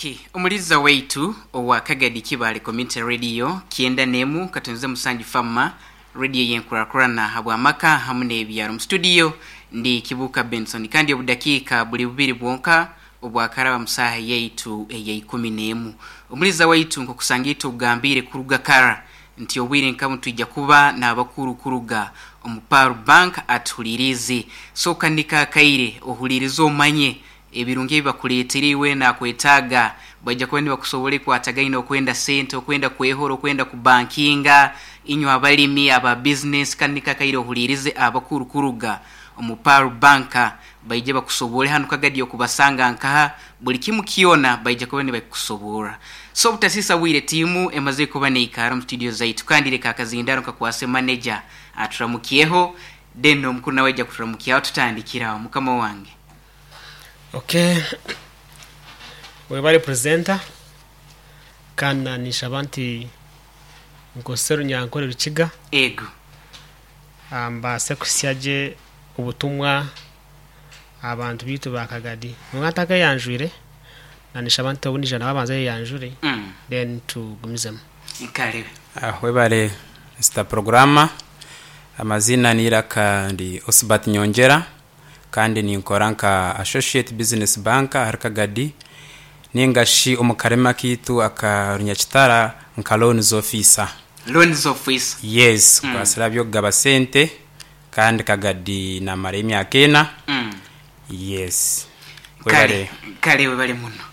Ok, omuliza waitu owa Kagadi Kibaale Community Radio kyenda n'emu katonze musanju Fama Radio y'enkurakurana habw'amaka hamu n'ebyaro. Mu studio ndi Kibuuka Benson kandi obudakiika buli bubiri bwonka obwakaraba mu saaha yaitu ey'eikumi n'emu. Omuliza waitu nk'okusanga itwe ogambiire kuruga kara nti obwire nka bunu twija kuba n'abakuru kuruga omu Pearl Bank atuhuliriize. Sooka niko akaire ohuliirize omanye Ebirungi ebi bakureetera iwe nakwetaaga, baija kuba nibakusobora ekwatagaine okwenda sente, okwenda kwehora, okwenda kubankinga, inywe abalimi, aba bizinesi, kandi niko akaire ohuliirize abakuru kuruga omu Pearl Bank baije bakusoboore hanu Kagadi okubasanga nkaha, buli kimu kyona baija kuba nibakikusoboora. So obutasiisa bwire tiimu emazire kuba neikaara omu studio zaitu kandi leka akazindaaro nkakwase manager aturamukyeho then omukuru nawe aija kuturamukyaho tutandikire aho. Mukama wange. Ok webare presenter kandi na ninshaba nti nkozese orunyankore rukiga Ego. mbaase kuhitsya gye obutumwa aha bantu baitu ba Kagadi. Kwonka ntakayeyanjwire na ninshaba nti obu naija nawe abanze ayeyanjure then tugumizemu. Kare. Webare Mister Programmer, amaziina n'eiraka ndi Osbert Nyongyera. Kandi ninkora nka Associate Business Banker ahari Kagadi ninga shi omu karimi akaitu aka Runyakitara nka Loans Officer. Loans Officer. Yes, nkwasire aha by'okugaba sente kandi Kagadi namarayo emyaka ena. Yes. Kare, Webare. kare webare muno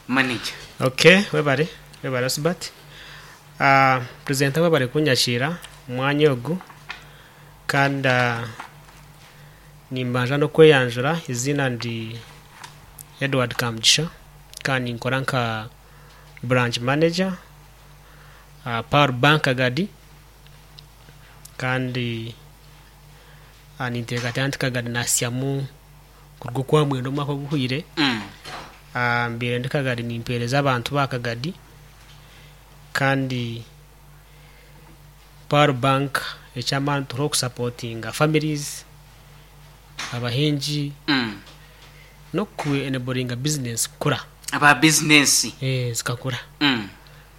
Manager. Ok webare, webare Osbert. Presenter webare kunyakiira omu mwanya ogu kandi Nimbanza n'okweyanjura, eiziina ndi Edward Kamugisha kandi ninkora nka branch manager aha Pearl Bank Kagadi kandi ninteekateeka nti Kagadi naasyamu kuruga okwamwenda omwaka oguhweire. Mbaire ndi Kagadi nimpeereza abantu ba Kagadi kandi Pearl Bank eky'amaani turiho kusapotinga families, abahingi n'oku enablinga business kukura. Aba bizinesi. Zikakura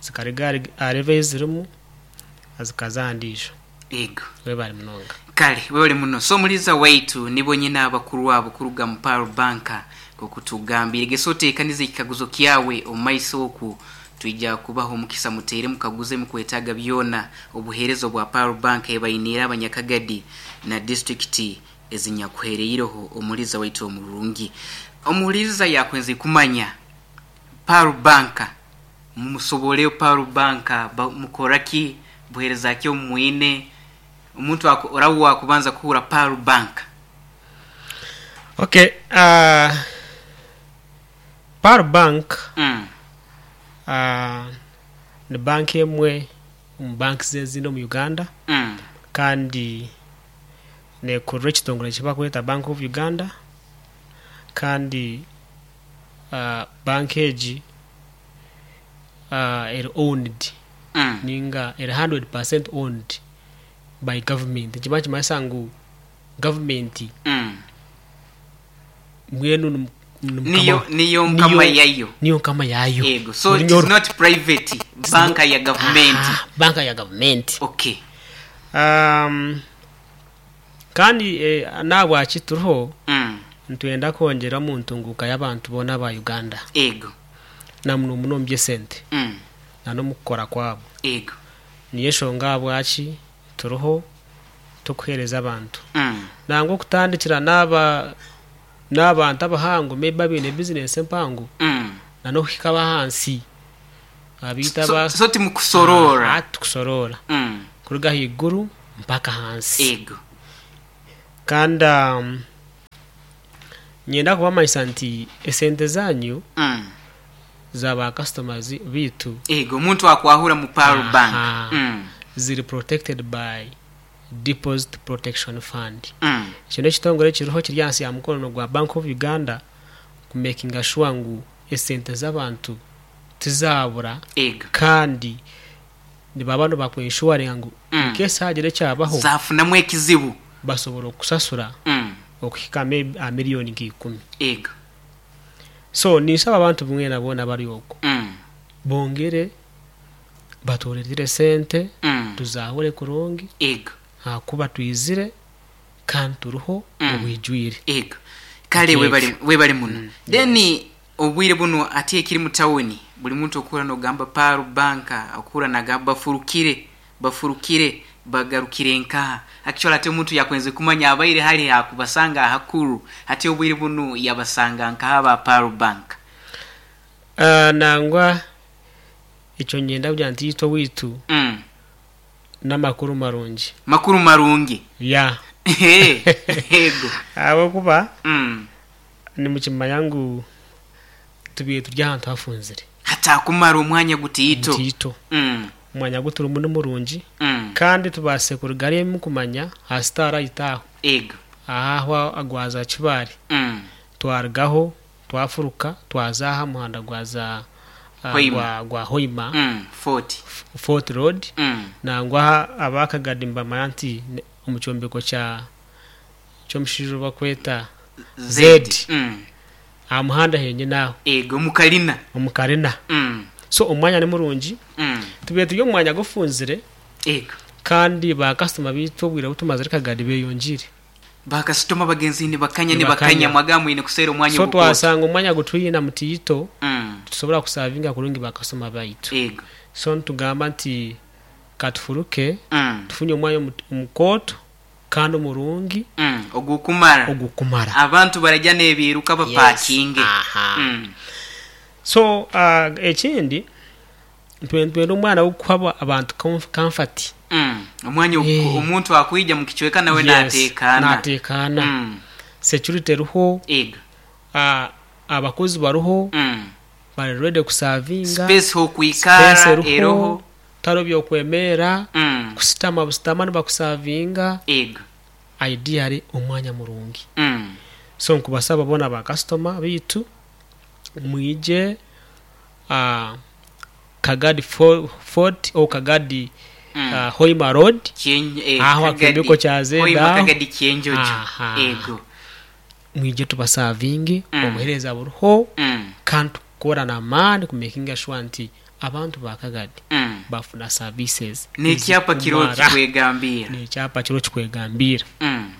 zikaruga aha level ei zirimu zikaza aha ndiijo. Ego. Webale munonga. Kale webale muno. So omuliiza waitu nibo nyine abakuru abo kuruga mu Pearl Bank nkoku tugambiire. Gesa oteekanize ekikaguzo kyawe omu maiso oku Twija kubaha omukisa muteere mukaguze ebimukwetaaga byona obuheereza obwa Pearl Bank ebainiire Abanyakagadi na disiturikiti ezinyakuhereireho omuhuriza waitu omurungi. Omuhuriza yakwenze kumanya Pearl Bank mumusoboreyo Pearl Bank mukora ki, buheereza ki obu mwine, omuntu oraba owakubanza kuhurra Pearl Bank. Ok, Pearl Bank ni banka emwe omu banks ezindi omu Uganda kandi nekurira ekitongore eki barikweta Bank of Uganda kandi banka egi eri owned ninga eri 100% owned by government. Nikiba nikimanyisa ngu gavumenti mbwenu ni mukama Niyo niyo nkama yayo. Niyo nkama yayo. Ego. So it is not private, banka ya gavumenti. Aha, banka ya gavumenti. Okay. Um, kandi eh, n'ahabwaki turiho nitwenda kwongyera omu ntunguuka y'abantu boona aba Uganda Ego. na muno muno omu by'esente na n'omu kukora kwabo. Ego. Niyo enshonga ahabwaki turiho turikuheereza abantu. Nangwa okutandikira n'aba n'abantu abahango maybe abaine bizinesi empango na n'okuhika ab'ahansi abaita aba So timukusoroora. Aha titukusoroora. Kuruga ahaiguru mpaka ahansi. Ego. Kandi niinyenda kubamanyisa nti esente zaanyu za ba customers baitu. Ego, omuntu akwahura mu Pearl Bank. Aha, ziri protected by Deposit Protection Fund. Ekyo n'ekitongore ekiriho kiri ahansi ya mukono gwa Bank of Uganda ku makinga sure ngu esente z'abantu tizaabura Ego. kandi nibaba nibaku inshuwaringa ngu in case haagira ekyabaho Zafunamu ekizibu. basobora okukusasura okuhika maybe aha miriyoni nka ikumi. Ego. So ninshaba abantu mwena boona abari okwo Mm. bongere batureetere sente Mm. tuzahure kurungi Ego. ahakuba twizire kandi turiho Mm. obwijwire. Ego. Kale Ekyo. webale webale muno. Then obwire buno ati ekiri mu tawuni buli muntu okura nogamba Paru Banka okura nagamba bafurukire bafurukire bagarukire nkaha. Actually ate omuntu yakwenze kumanya abaire hali hakubasanga ahakuru ate obwire bunu yabasanga nkaha ba Paru Bank. Nangwa ekyo niinyenda kugira nti itwe owaitu Mm. n'amakuru marungi. Makuru marungi. Ya. Ego. Ahabw'okuba Mm. nimukimanya ngu tubaire turi ahantu hafunzire. Hatakumara omwanya gutiito. Mutiito. Mm. Omwanya gu turimu ni murungi Mm. kandi tubaase kuruga hariya mukumanya aha Starlight aho. Ego. Aho agwaza Kibaare. Mm. Twarugaho twafuruka twaza aha muhanda gwaza Hoima. gwa, gwa Hoima Mm. 40. Fort Road. Mm. Nangwa abakagadi nibamanya nti omu kyombeko kya ky'omushaija ou bakweta Z. Z. Mm. Aha muhanda henyine aho. Ego omu karina. Omu karina. Mm. So omwanya ni murungi. Mm. Tubaire turi omu mwanya gufunzire. Ego. Kandi bakasitoma baitu obwire obu tumazire Kagadi beyongiire. Bakasitoma bagenzi nibakanya Nibakanya. nibakanya mwagamba mwine kuseera omwanya So ogukooto. twasanga omwanya gutwine mutiito Mm. titusobora kusavinga kurungi bakasitoma baitu. Ego. So nitugamba nti katufuruke Mm. tufunye omwanya omukooto kandi omurungi Mm. Ogukumara. Ogukumara. Abantu barajya n'ebiiruka bapakinge. Yes. Aha. Mm. So ekindi nitwenda omwana w'okuha abantu comfort. Mm. Omwanya Eh. omuntu akwija mu kicweka nawe Yes, nateekaana. nateekaana. Mm. Security eriho. Ego. Abakozi bariho. Mm. Bari ready kusavinga. Space hokwikara Space eriho. eroho. Tariho by'okwemerera. Mm. Kusitama busitama nibakusavinga. Ego. Ideally omwanya murungi. Mm. So nkubasaba boona ba customer baitu mwije Kagadi Fort ou Kagadi Mm. Hoima Road Kyen, eh, aho Kagadi. akyombeko kya Zeda Hoima aho. Kagadi Kyenjojo. Aha. Ego. Mwije tubasavinge Mm. obuheereza buriho Mm. kandi tukora n'amaani kumakinga sure nti abantu ba Kagadi Mm. bafuna services N'ekyapa kiriho ezikumara. kikwegambira. N'ekyapa kiriho kikwegambira. Mm.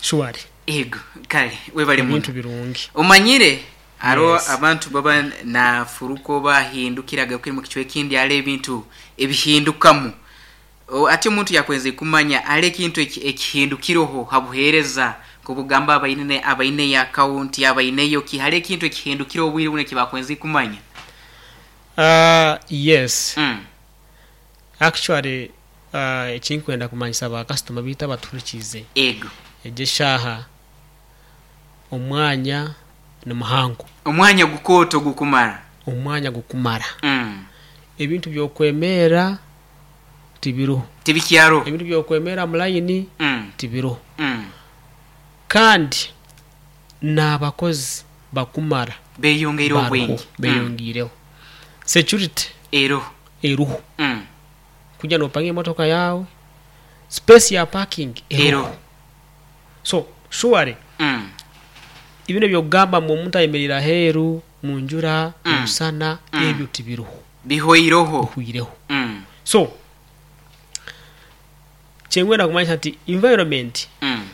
Surely. Ego, kale webale muno. Ebintu birungi. Omanyire hariho Yes. abantu baba nafuruka oba ahindukira agarukire mu kicweka ekindi hariho ebintu ebihindukamu. Ati omuntu yakwenze kumanya hariho ekintu ekihindukireho ha buheereza nk'obugamba abaine abaineyo akawunti abaineyo ki hariho ekintu ekihindukireho obwire bunu ekibakwenze kumanya? Yes. Mm. Actually ekinkwenda kumanyisa ba kasitoma baitu abatuhurikiize. Ego. Egi eshaaha omwanya ni muhango. Omwanya gukooto gukumara. Omwanya gukumara. Mm. Ebintu by'okwemerera tibiriho. Tibikyaro. Ebintu by'okwemerera mu layini Mm. tibiriho. Mm. Kandi n'abakozi bakumara. Beyongeire Bariho, obwingi. Mm. beyongeireho. Security Eroho. eruho. Mm. Kugira nopanga emotoka yaawe, space ya parking eruho. Eroho. So surely Mm. ebintu eby'okugamba ngu omuntu ayemereire aheeru mu njura, Mm. mu musana, Mm. ebyo tibiriho. Bihweireho. Bihwireho. Mm. So kyenkwenda kumanyisa nti environment Mm.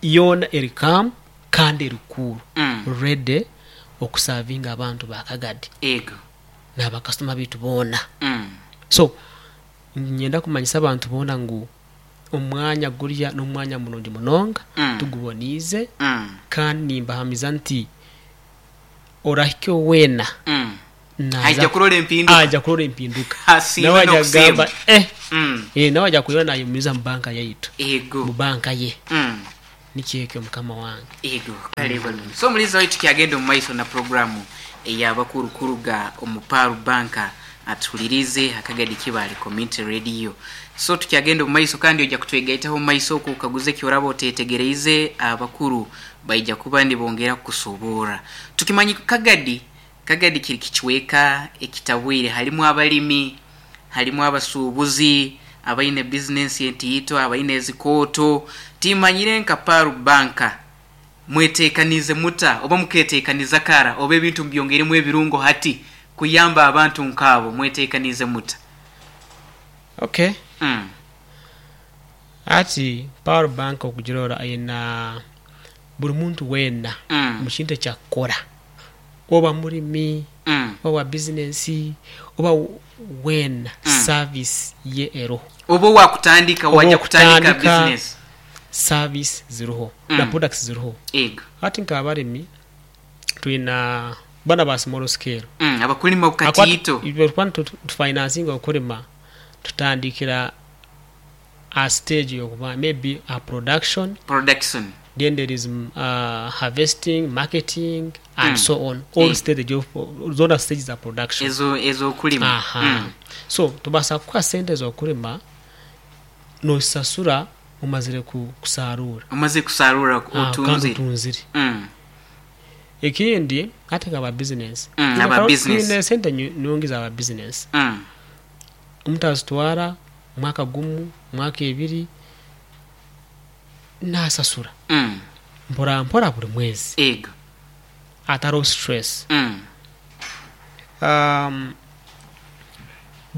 yoona eri calm kandi eri cool. Mm. Ready okusavinga abantu ba Kagadi. Ego. N'abakasitoma baitu boona. Mm. So niinyenda kumanyisa abantu boona ngu omwanya guriya n'omwanya murungi munonga Mm. tuguboniize Mm. kandi nimbahamiza nti orahika weena Mm. naaza Aija kurora empinduka. aija kurora empinduka. Asiime Nawe aija n'okusiima. kugamba eh Mm. eh nawe aija kureeba nayemumiza mu banka yaitu. Ego. Mu banka ye. Mm. Nikyo ekyo mukama wange. Ego. Kale balungi. So omulizi waitu kyagenda omu maiso na programu ey'abakuru kuruga omu Pearl Bank atuhulirize Akagadi Kibaale Community Radio. So tukyagenda omu maiso kandi oija kutwegaitaho omu maiso oku okaguze eki oraba oteetegereize abakuru baija kuba nibongera kukusoboora. Tukimanyi Kagadi, Kagadi kiri kicweka ekitabwire harimu abalimi, harimu abasuubuzi, abaine bizinensi entiito, abaine ezikooto. Timanyire nka Pearl Bank Mweteekaniize muta oba mukeeteekaniza kara oba ebintu mubyongeiremu ebirungo hati kuyamba abantu nk'abo? Mweteekaniize muta? Ok. Hati Pearl Bank okugirora aine buri muntu weena omu kintu eki akukora, oba murimi, oba wa bizinensi, oba weena service ye eroho. Oba owakutandika, Oba waija kutandika owakutandika bizinesi. service ziriho na products ziriho. Ego. Hati nk'abarimi twina banu aba small scale. Abakulima Ahakuba bukatiito. itwe tukuba nitufinansinga okulima tutandikira aha stage yokuba maybe aha production, Production. then there is harvesting, marketing and so on, all stage of zona stage za production. Ezo ezokulima. Aha. So tubasa kukuha sente zokulima nosasura omazire kusarura. Omazire kusarura Kandi otunzire. otunzire. Ekindi hati nka ba business, Aba business. twine esente nungi za ba business. Omuntu azitwara mwaka gumu, mwaka ebiri nasasura mpora mpora buri mwezi Ego. atariho stress.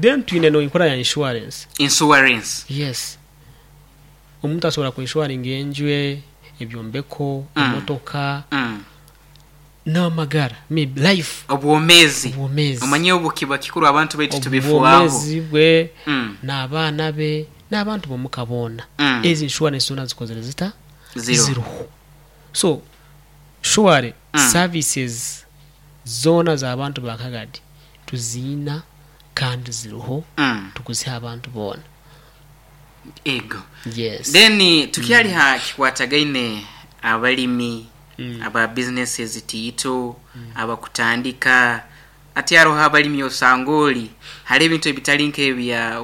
Then twine n'enkora ya insurance. Insurance. Yes. Omuntu asobola ku inshuwaringa enju ye, ebyombeko, emotoka, n'amagara, maybe life. Obwomeezi. Obwomeezi. Omanye obu kiba kikuru abantu baitu tubifwaho. Obwomeezi bwe, n'abaana be, n'abantu b'omuka boona. Ezo inshuwarensi zoona zikozire zita? Ziriho. Ziriho. So, surely services zoona z'abantu ba Kagadi tuziina kandi ziriho tukuziha abantu boona. Ego. Yes. Then tukyali ha kikwatagaine abalimi, aba business ezitiito, abakutandika, hati haroho abalimi osanga ori hariho ebintu ebitari nk'ebya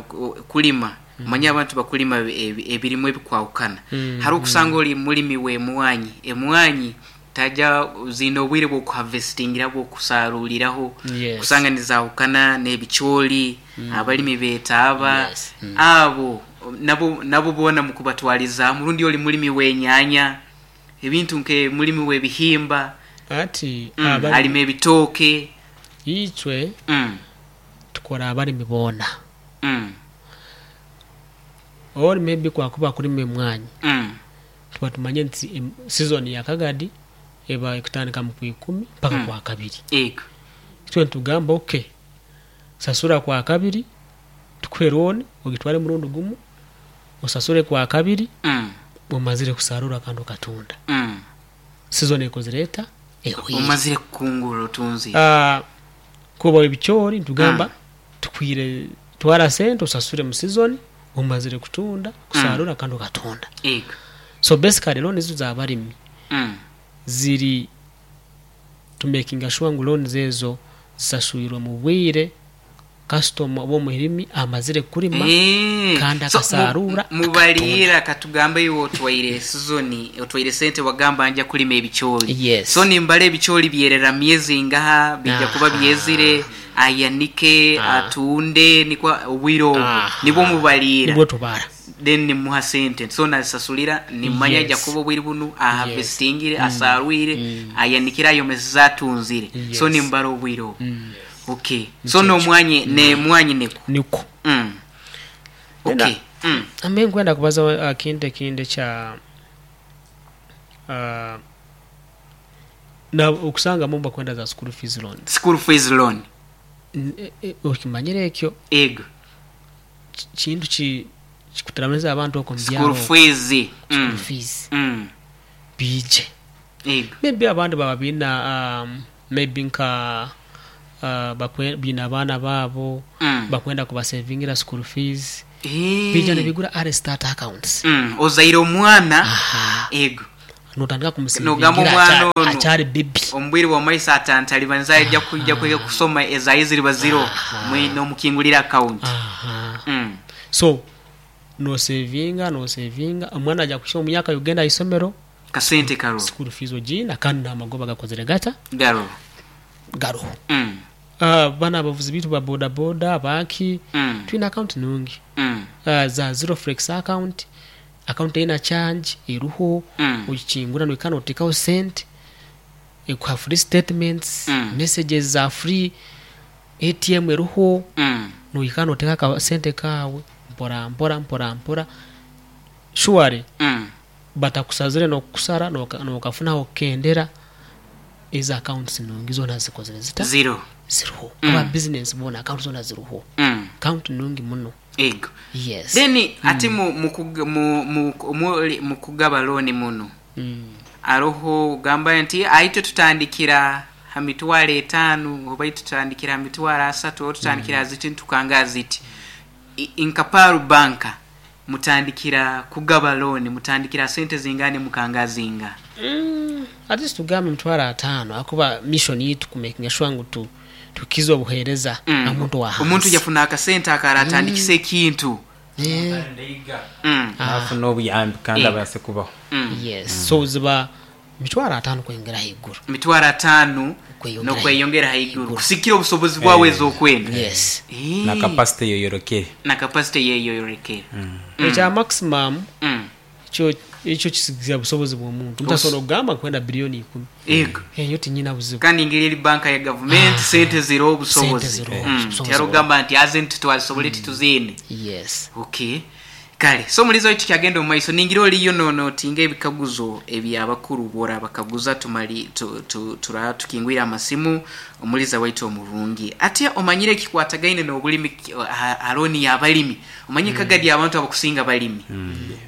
kulima, omanye abantu bakulima ebirimwa ebikwahukana. Hariho okusanga ori mulimi w'emwanyi, emwanyi taja ziine obwire bw'okuhavesitingira bw'okusaruriraho, Yes. kusanga nizahukana n'ebicoori, abalimi b'etaaba, Yes. abo nabo nabo boona mukubatwarizamu rundi ori mulimi w'enyanya, ebintu nke mulimi w'ebihimba, Ati alima abalimi ebitooke. itwe tukora abalimi boona. Or maybe kwakuba kulima emwanyi, tuba tumanyire nti season ya kagadi eba ekutandika mu kwikumi mpaka kwakabiri. Ego. Itwe nitugamba ok, sasura kwakabiri tukuhe loan ogitware murundi gumu, osasure kwakabiri omazire kusarura kandi okatunda. Season ekozire eta? Ehweire. Omazire kukungura otunzire. Kuba ebicoori nitugamba tukwire twara sente osasure mu season omazire kutunda, kusarura kandi okatunda. Ego. So basically loans ezo z'abarimi ziri to makinga sure ngu loans ezo zisaswirwe mu bwire kasitoma oba omurimi amazire kurima Eh, kandi so akasarura akatunda. Mubaliira katugambe iwe otwaire season otwaire sente wagamba nja kulima ebicoori. Yes. So nimbara ebicoori byerera myezi ingaha bija kuba byezire ayanike atunde nikwo obwire obwo nibwo mubaliira. Nibwo tubara. Then nimuha sente so nazisasulira nimanya aja Yes. kuba obwire bunu aharvestingire asarwire ayanikire ayomesize atunzire. Yes. So nimbara obwire obwo. Okay. So n'omwanya n'emwanyi nikwo. Nikwo. Okay. Then, Ambe nkwenda kubaza akintu ekindi ekya na okusangamu bakwenda za school fees loans. School fees loan. Okimanyire ekyo? Ego. Kintu ki kikutarabaniza abantu okwo omu School byaro okwo. fees. School fees. Biije. Ego. Maybe abandi baba baine maybe nka baine abaana baabo bakwenda kubasevingira school fees. Biija nibigura early start accounts. Ozaire omwana. Aha. Ego. Notandika Nogamba kumusevingira omwana ono akyari baby. Omu bwire bwa maiso atantalibaniza aija kwija kwega kusoma ezaye ziriba ziro nomukingurira account. Aha. So nosevinga nosevinga omwana aja kuhika omu myaka yokugenda aha isomero Kasente karoho. School fees ogiina kandi n'amagoba gakozire gata? Garoho. Garoho. Banu abavuzi baitu ba boda boda baki twine account nungi za zero flex account. Akawunti eine changi eriho, ogikingura nohika noteekaho sente, ekuha free statements, messages za free, ATM eriho, nohika noteekaho akasente kaawe mpora mpora mpora mpora, surely batakusazire nokukusara nokafunaho kukendera, ezo accounts nungi zoona zikozire zita? Ziriho. Ziriho. Aba business boona accounts zoona ziriho. Account nungi muno. Ego. Yes. Then ati mu, mu, mu, mu, mu, mu kugaba looni munu, aroho ogamba nti aitwe tutandikira ha mitwaro etaanu oba itwe tutandikira ha mitwaro asatu oba tutandikira ha ziti nitukanga ha ziti. I- Nka Pearl Bank mutandikira kugaba looni mutandikira ha sente zingani mukanga ha zinga? At least tugambe emitwaro ataano ahakuba mission yaitu ku makinga sure ngu tu tukize obuhereza aha muntu owa Omuntu hansi. yafuna akasente ako aratandikisa ekintu. Nafuna obuyambi kandi Eh. abaase kubaho. Yes, so ziba mitwaro ataano kweyongera ahaiguru. Mitwaro ataano Kweyongera nokweyongera haiguru kusikira obusobozi bwawe ezokwenda. Yes. Eh. Na capacity eyoyorekere. Na capacity eyeyorekere. Ekya maximum Ekyo ekyo kisigikira busobozi bw'omuntu. Omuntu asobola okugamba nkwenda biliyoni ikumi. Ego. Eyo tinyina buzibu. Kandi engeri eri banka ya gavumenti sente ziroho obusobozi. Sente ziroho, obusobozi Tihariho kugamba nti haza enti twazisobora tituziine. Yes. Okay. Kale, so omulizi waitu tukyagenda omu maiso, ningira oriyo nonotinga ebikaguzo eby'abakuru bw'orabakaguza tumali tu, tu, turaba tukingwire amasimu. Omuliza waitu omurungi. Atya omanyire ekikwatagaine n'obulimi ha looni y'abalimi? Omanyire kagadi abantu abakusinga balimi.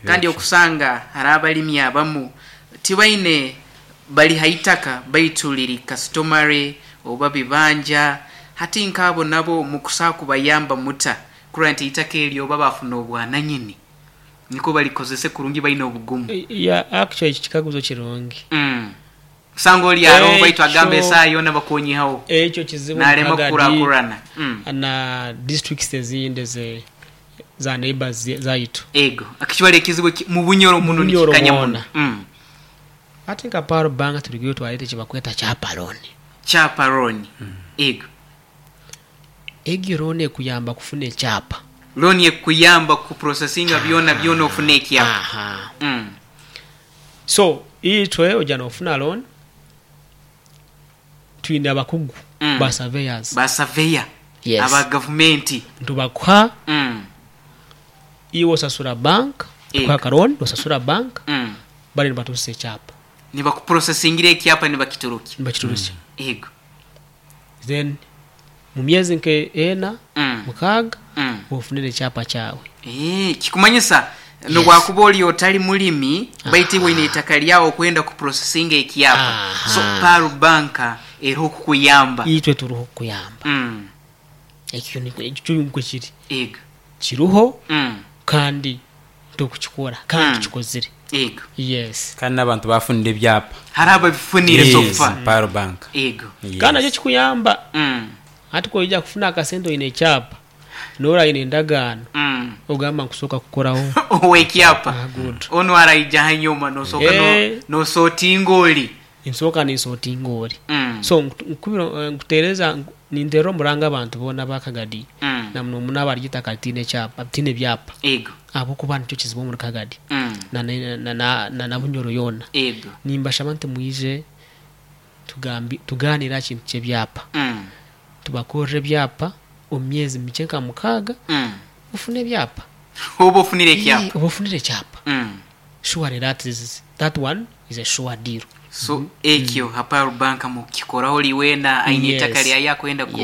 Kandi okusanga hariho abalimi abamu tibaine bali ha itaka baitu liri customary oba bibanja. Hati nk'abo nabo mukusobola kubayamba muta kurora nti eitaka eryo oba bafuna obwananyini nikwo balikozese kurungi baine obugumu? Yeah, actually ekyo kikaguzo kirungi. Osanga ori aroho baitu agamba Ekyo esaaha yoona bakonyihaho ekyo kizibu omu nalema Kagadi kukurakurana. na districts ezindi eze za neighbours zaitu. Ego, akikibara ekizibu eki mu Bunyoro muno Bunyoro nikikanya muno. mwona. Hati nka Pearl Bank turigayo twareta ekibakweta kyapa loan. Kyapa loan. Ego. Egyo loan ekuyamba kufuna ekyapa. Loan ekukuyamba ku processinga byona byona ofune ekyapa. Aha. So itwe oja nofuna loan, twine abakugu ba surveyors. Ba surveyor Yes. aba gavumenti. Nitubakuha, iwe osasura bank, tukuha aka loan osasura bank, bare nibatuhitsya ekyapa. Nibakuprocessingira ekyapa nibakiturukya. Nibakiturukya. Ego. Then mu myezi nka ena, mukaaga, ofunire ekyapa kyawe. Eeh, kikumanyisa nobwakuba ori otari murimi baitu iwe oine eitaka ryawe okwenda ku processinga ekyapa, so Pearl Bank eriho kukuyamba. Itwe turiho kukuyamba. Ekyo nikwo ekyo nikwo kiri. Ego. Kiriho kandi turikukikora kandi tukikozire. Ego. Yes. Kandi n'abantu bafunire ebyapa. Hariho ababifunire so Yes, far. Pearl Bank. Ego. Yes. Kandi nakyo kikuyamba. Hati ku oija kufuna akasente oine ekyapa, n'ori aine endagaano, ogamba nkusooka kukoraho. Ow'ekyapa. Ah, good. Onu araija hanyuma nosooka no, Eh. nosotinga ori. Nsooka ninsotinga ori. So nkubira nkuteereza ninteerera omuranga abantu boona aba Kagadi na muno muno abari eitaka ritaine kyapa ritaine byapa Ego. ahabw'okuba nikyo kizibu omuri Kagadi na na na na Bunyoro yoona. Ego. Nimbashaba nti mwije tugambi tugaaniire aha kintu ky'ebyapa. Tubakorere ebyapa omu myezi mikye nka mukaaga ofune ebyapa. Oba ofunire ekyapa. Oba ofunire ekyapa. Surely that is that one is a sure deal. So ekyo ha Pearl Bank mukikoraho ori weena aine eitaka ryaye akwenda ku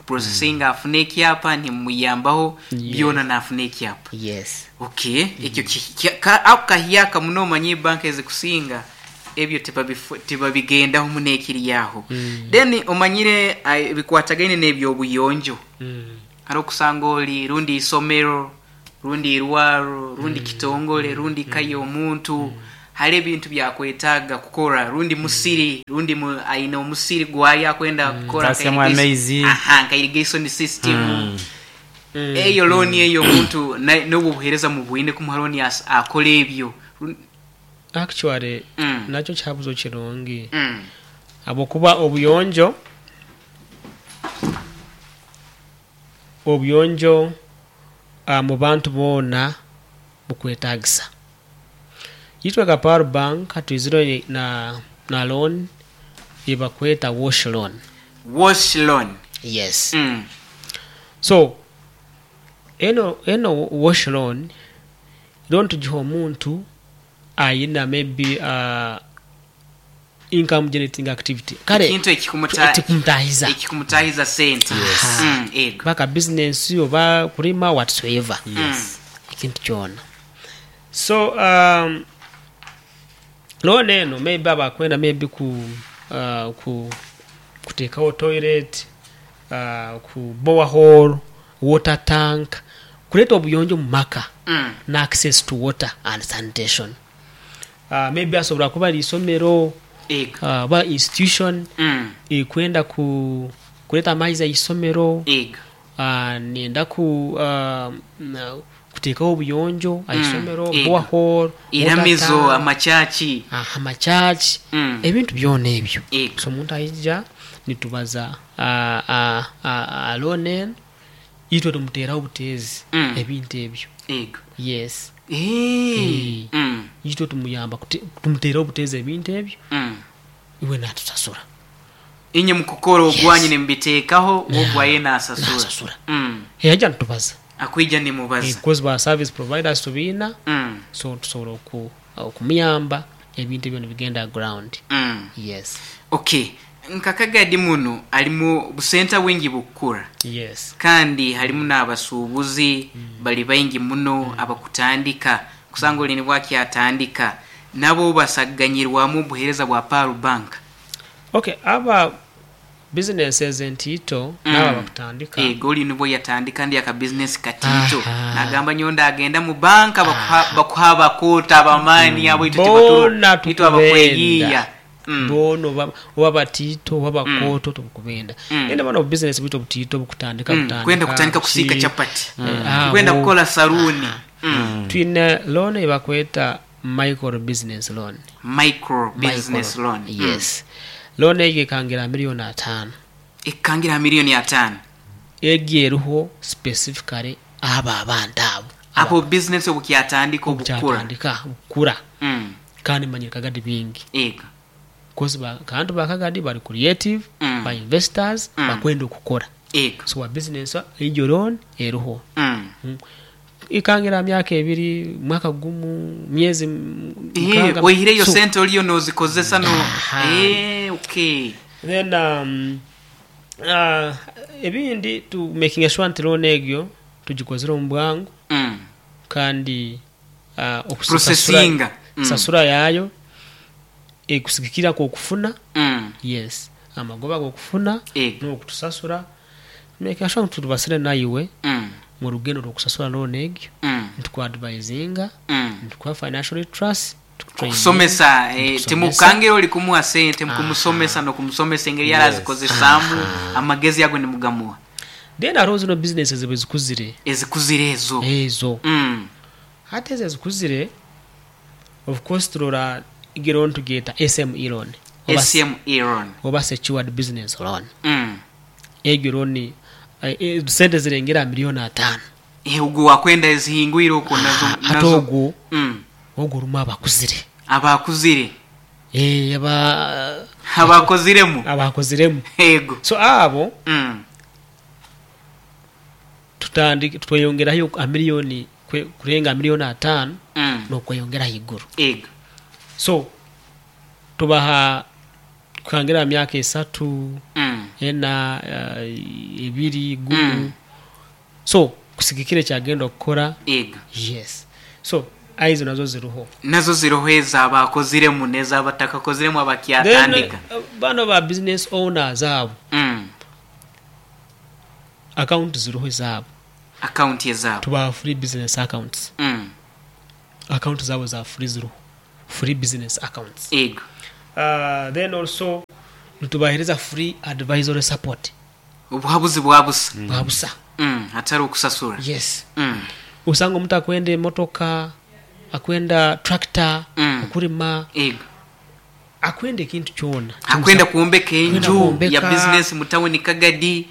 processinga afune ekyapa nimumuyambaho byona nafuna ekyapa. Yes. Okay, ekyo ka ako kahyaka muno omanye ebanka ezikusinga ebyo tibabigendaho muno ekiri aho. Then omanyire ebikwatagaine n'ebyobuyonjo. Hariho okusanga ori rundi isomero, rundi irwaro, rundi kitongole, rundi ka y'omuntu, hariho ebintu byakwetaaga kukora, rundi musiri, rundi aine omusiri gwaye akwenda kukora nka Tasyamu amaizi. Aha, nka irrigation system. Eyo looni eyo omuntu n'obwo obuheereza mubwine kumuha looni akore ebyo. Actually nakyo kihabuzo kirungi ahabw'okuba obuyonjo obuyonjo omu bantu boona bukwetagisa. Itwe nka Pearl Bank twizire na na loan eyibakweta wash loan. Wash loan. Yes. So eno eno wash loan, loan tugiha omuntu ayina maybe income generating activity kale Ekintu ekikumuta ekikumutahiza ekikumutahiza sente. Aha. Ego. Oba ka business oba kulima whatsoever. Yes. Ekintu kyona. So loan eno maybe aba akwenda maybe ku ku kuteekawo toilet, ku borehole, water tank, kuleeta obuyonjo omu maka na access to water and sanitation. Maybe asobola kuba ari isomero oba institution erikwenda kureeta amaizi aha isomero, nenda kuteekaho obuyonjo aha isomero, borehole, water tank, amachachi, ebintu byona ebyo. So omuntu aija nitubaza loan eno, itwe tumuteeraho obuteezi ebintu ebyo. Yes. Eeh. Itwe tumuyamba tumuteeraho obuteezi ebintu ebyo, iwe naatusasura. Inye mukukora ogwanyu nimubiteekaho, we ogwaye naasasura. Naasasura. Yaija nitubaza. Akwija nimubaza. Because ba service providers tubaina, so tusobola okumuyamba ebintu ebyo nibigenda ground. Yes. Okay. Nka Kagadi munu alimu busenta bwingi bukukura. Yes. Kandi halimu n'abasuubuzi bali baingi muno abakutandika kusanga oli nibwo akyatandika nabo basaganyirwamu obuheereza bwa Pearl Bank. Ok, aba businesses entiito n'abo abakutandika. Ego oli nibwo yatandika ndi aka business katiito nagamba nyowe ndagenda mu banka bakuha abakoota abamaani abo itwe Boona itwe tukubenda. abakweyiiya. Boona oba batiito oba bakooto tukubenda. Then bano obu business bwitu obutiito obukutandika butandika. Kwenda kutandika kusiika chapati. Kwenda kukora saluuni. Twine loan eyibakweta micro business loan. Micro business loan. Yes. Loan egyo ekangira aha million ataano. Ekangira aha million ataano. Egyo eriho specifically abo abantu abo. Abo business obukyatandika obukura. Obukyatandika obukura. Kandi manyire Kagadi bingi. Ego. Coz abantu ba Kagadi bari creative, ba investors, bakwenda okukora. Ego. So wa business egyo loan eriho. Ekangira aha myaka ebiri, mwaka gumu, myezi mukaaga. Oihireyo sente oriyo nozikozesa no. Okay. Then ebindi tu makinga sure nti loan egyo tugikozire omu bwangu kandi Processinga. okusasura yaayo ekusigikirira kw'okufuna, yes, amagoba ag'okufuna n'okutusasura, makinga sure ngu turubasire naiwe mu rugendo rw'okusasura loan egyo, nitukuadvisinga, nitukuha financial literacy, tukutraininga, Kusomesa, nitukusomesa. Timukukangira ori kumuha sente, mukumusomesa n'okumusomesa engeri arazikozesaamu, amagezi ago nimugamuha. Then hariho zino businesses ezikuzire. Ezikuzire ezo. Ezo. Hati ezo ezikuzire, of course turora egi loan tugyeta SME loan. SME loan. Oba secured business loan. Egyo loan sente zirengera aha million ataano. Ogwo wakwenda ezihingwire okwo nazo. Hati ogwo, ogwo orimu abakuzire. Abakuzire. Eeh aba. Abakoziremu. Abakoziremu. Ego. So abo. Tutandike tweyongerayo aha million kurenga million ataano n'okweyongera ahaiguru. Ego. So tubaha kuhangira aha myaka esatu, ena, ebiri, gumu. So kusigikira ekyagenda okukora. Ego. Yes. So aye ezo nazo ziriho. Nazo ziriho ez'abakoziremu n'ezabatakakoziremu abakyatandika. Then banu aba business owners abo. Akawunti ziriho ezaabo. Akawunti ezaabo. Tubaha free business accounts. Akawunti zaabo za free ziriho. Free business accounts. Ego. Then also nitubahereza free advisory support. Obuhabuzi bwa busa. Bwa busa. Hatariho kusasura. Yes. Osanga omuntu akwenda emotoka, akwenda tractor, okurima. Ego. Akwenda ekintu kyona. Akwenda kwombeka enju ya bizinesi mu tawuni Kagadi.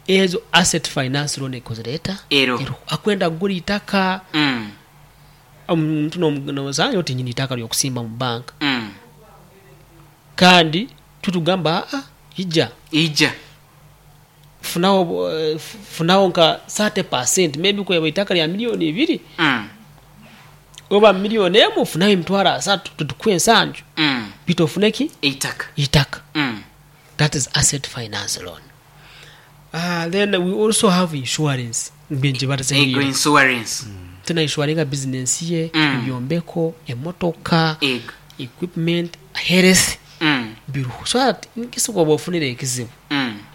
Ezo asset finance loan ekuzireeta Ero. Akwenda kugura eitaka. Omuntu nosanga oti nyine eitaka ry'okusimba mu banka kandi titugamba aa ija. Ija. Funaho funaho nka 30% maybe ku eitaka rya million ibiri oba million emu funaho emitwaro asatu titukuha ensanju beitu ofune ki? Eitaka. Eitaka. That is asset finance loan. Then we also have insurance Ego insurance. Omuntu na inshuwaringa bizinensi ye, ebyombeko, emotoka, Ego. equipment, health biriho so that in case woba ofunire ekizibu,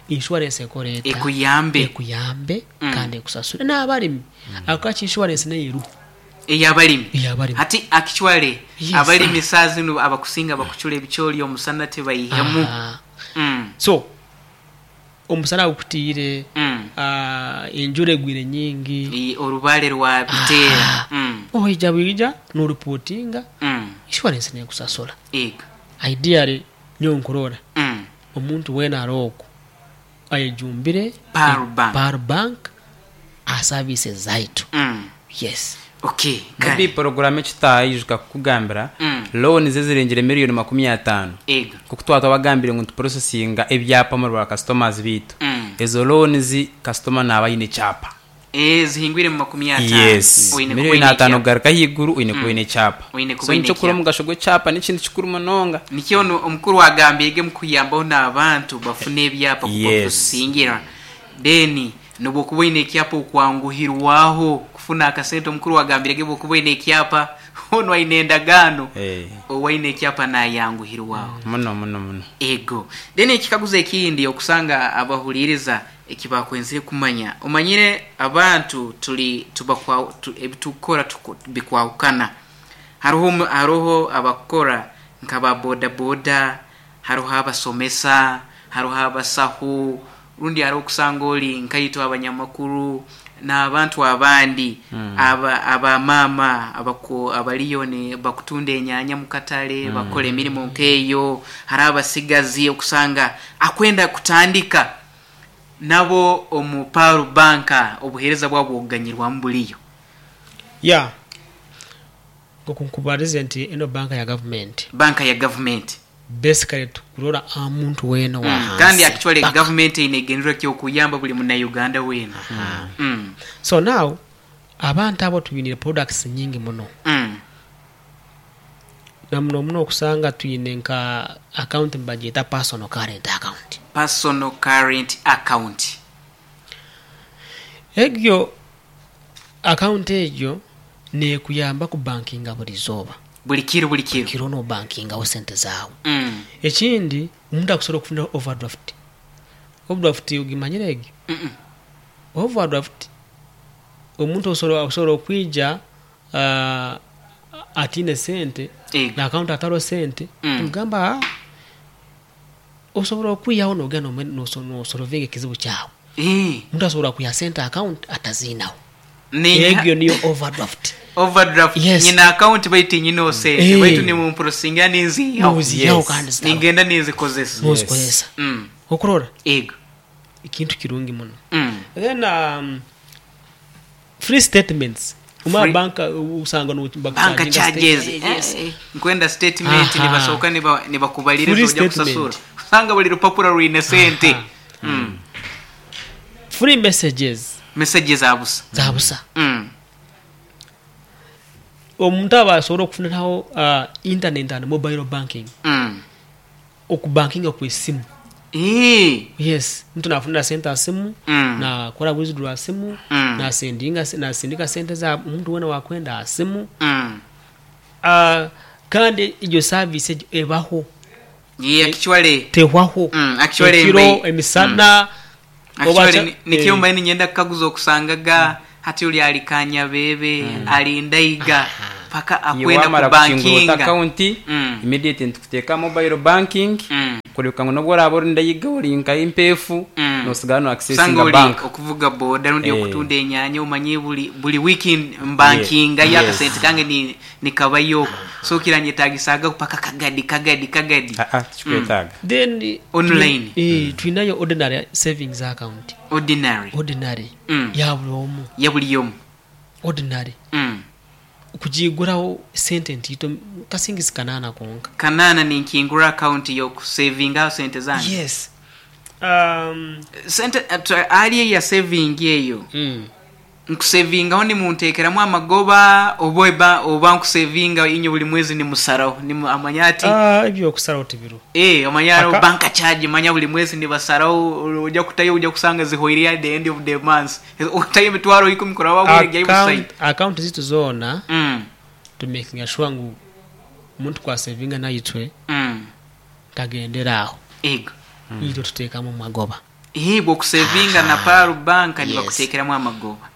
insurance ekore eta? Ekuyambe. Ekuyambe kandi ekusasure. N'abarimi, ako insurance nayo eriho. Ey'abalimi. Ey'abalimi. Hati actually Yes. abalimi saaha zinu abakusinga bakucura ebicoori omusana tibaihemu. Aha. So Omusana gukutiire, enjura egwire nyingi. Orubaare rwabiteera. Oija bwija n'oripotinga, inshuwarensi n'ekusasura. Ideally nyowe nkurora omuntu weena ari okwo ayejumbire Pearl Bank aha services zaitu. Yes. Okay, Maybe kare. Poroguramu eki tutaijuka kukugambira, loans ezirengire miriyoni makumi ataano, nk'oku twaba twabagambire ngu nituprosesinga ebyapa omuri ba customers baitu, ezo loans kasitoma naaba aine ekyapa. Eh, zihingwire mu makumi ataano. Yes, Oine kuba miriyoni oine ataano ekyapa. kugaruka ahaiguru oine kuba oine ekyapa. Oine kuba So oine nikyo kuri ekyapa. omugasho gw'ekyapa n'ekintu kikuru munonga. Nikyo onu omukuru agambiire omu kuyambaho n'abantu bafune ebyapa kubaprosesingira. Then N'obu okuba oine ekyapa okwanguhirwaho kufuna akasente. Omukuru agambire ge bwokuba oine ekyapa, onu aine endagaano, owaine ekyapa nayanguhirwaho. Muno muno muno. Ego. Then ekikaguzo ekindi okusanga abahuliiriza ekibakwenzire kumanya, omanyire abantu tuli tubakwa ebitukukora bikwahukana. Haroho haroho abakukora nka ba boda boda, Haroho abasomesa, haroho abasaho, rundi haroho okusanga ori nkaitwe abanyamakuru n'abantu abandi aba aba maama abaku abaliyo ni bakutunda enyanya mu katale, bakukora emirimo nk'eyo. Haroho abasigazi okusanga akwenda kutandika nabo omu Pearl Bank obuheereza bwabo bw'okuganyirwamu buriyo. Yeah. Nk'oku nkubarize nti eno banka ya gavumenti. Banka ya gavumenti. Basically tukurora aha muntu weena owa Kandi hansi actually paka. gavumenti eine ekigendererwa ky'okuyamba buli munauganda weena. So now abantu abo twinire products nyingi muno. Na muno muno okusanga twine nka account nibagyeta personal current account. Personal current account. Egyo account egyo Neekuyamba kubankinga buri izooba. Buri kiro buri kiro. Kiro noobankingaho sente zaawe. Ekindi omuntu akusobora kufuniraho overdraft. Overdraft ogimanyire egyo? Overdraft omuntu osobola okwija ataine sente na akawunti atariho sente tumugamba haa osobola okwihaho noogenda noosolovinga ekizibu kyawe. Omuntu asobola kwiha sente aha akawunti ataziinaho. Egyo niyo overdraft. Overdraft. Yes. Nyine account baitu tinyine sente Eh. baitu nimumprosingira ninziihaho. Noziihaho Yes. kandi zitabaho. Ningenda ninzikozesa. Nozikozesa. Okurora? Ego. Ekintu kirungi muno. Then free statements. Omara Free- bank osanga no Bank bakucharginga charges. state- Yes. Eh, eh, nkwenda statement Aha. nibasooka nibakubaliriza Free oja statement. kusasura. Osanga buli rupapura rwine sente. Aha. Free messages. Messages za busa. Za busa. Omuntu aba asobora okufuniraho internet and mobile banking. Okubankinga kw'esimu. Yes, omuntu nafunira sente aha simu, nakora withdraw aha simu, nasendinga nasindika sente za omuntu weena owakwenda aha simu. Kandi egyo service egyo ebaho. Actually, Tehwaho. Actually Ekiro, mbaire emisana, oba Actually kya nikyo eh. mbaire niinyenda kukaguza okusangaga hati ori ari Kanyabebe, ari Ndaiga paka Iwe akwenda wamara kukingura ota kubankinga. akaunti, immediate nitukuteeka aha mobile banking, kureebeka ngu n'obu oraabe ori Ndaiga ori nka Impeefu, noosigara no Osanga accessinga ori bank. okuvuga boda rundi Eh. okutunda enyanya omanye buri buri wiiki mbankingayo akasente kange ni nikabayo okwo so kiranyetagisaga paka kagadi kagadi kagadi. Aa tikikwetaaga. Then Online. twinayo ordinary savings account. Ordinary. Ordinary ya buri omu. Ya buri omu. Ordinary. Kugiiguraho sente ntaito kasingisi kanaana konka. Kanaana ninkingura akawunti y'okusevingaho sente zange? Yes. Sente ahari eya sevingi eyo, nkusevingaho nimunteekeramu amagoba oba eba oba nkusevinga inywe buri mwezi nimusaraho amanya ati. Eby'okusaraho tibiriho. Omanya hariho bank charge manya buri mwezi nibasaraho oja kutayo oja kusanga zihweireyo at the end of the month. Otayo emitwaro ikumi kuraba wabwire gyayo busayi. Akawunti zaitu zoona tumekinga shuwa ngu omuntu ku asevinga naitwe tagendera aho. Ego. Itwe tuteekamu amagoba. Ego okusevinga na Pearl Bank nibakuteekeramu amagoba.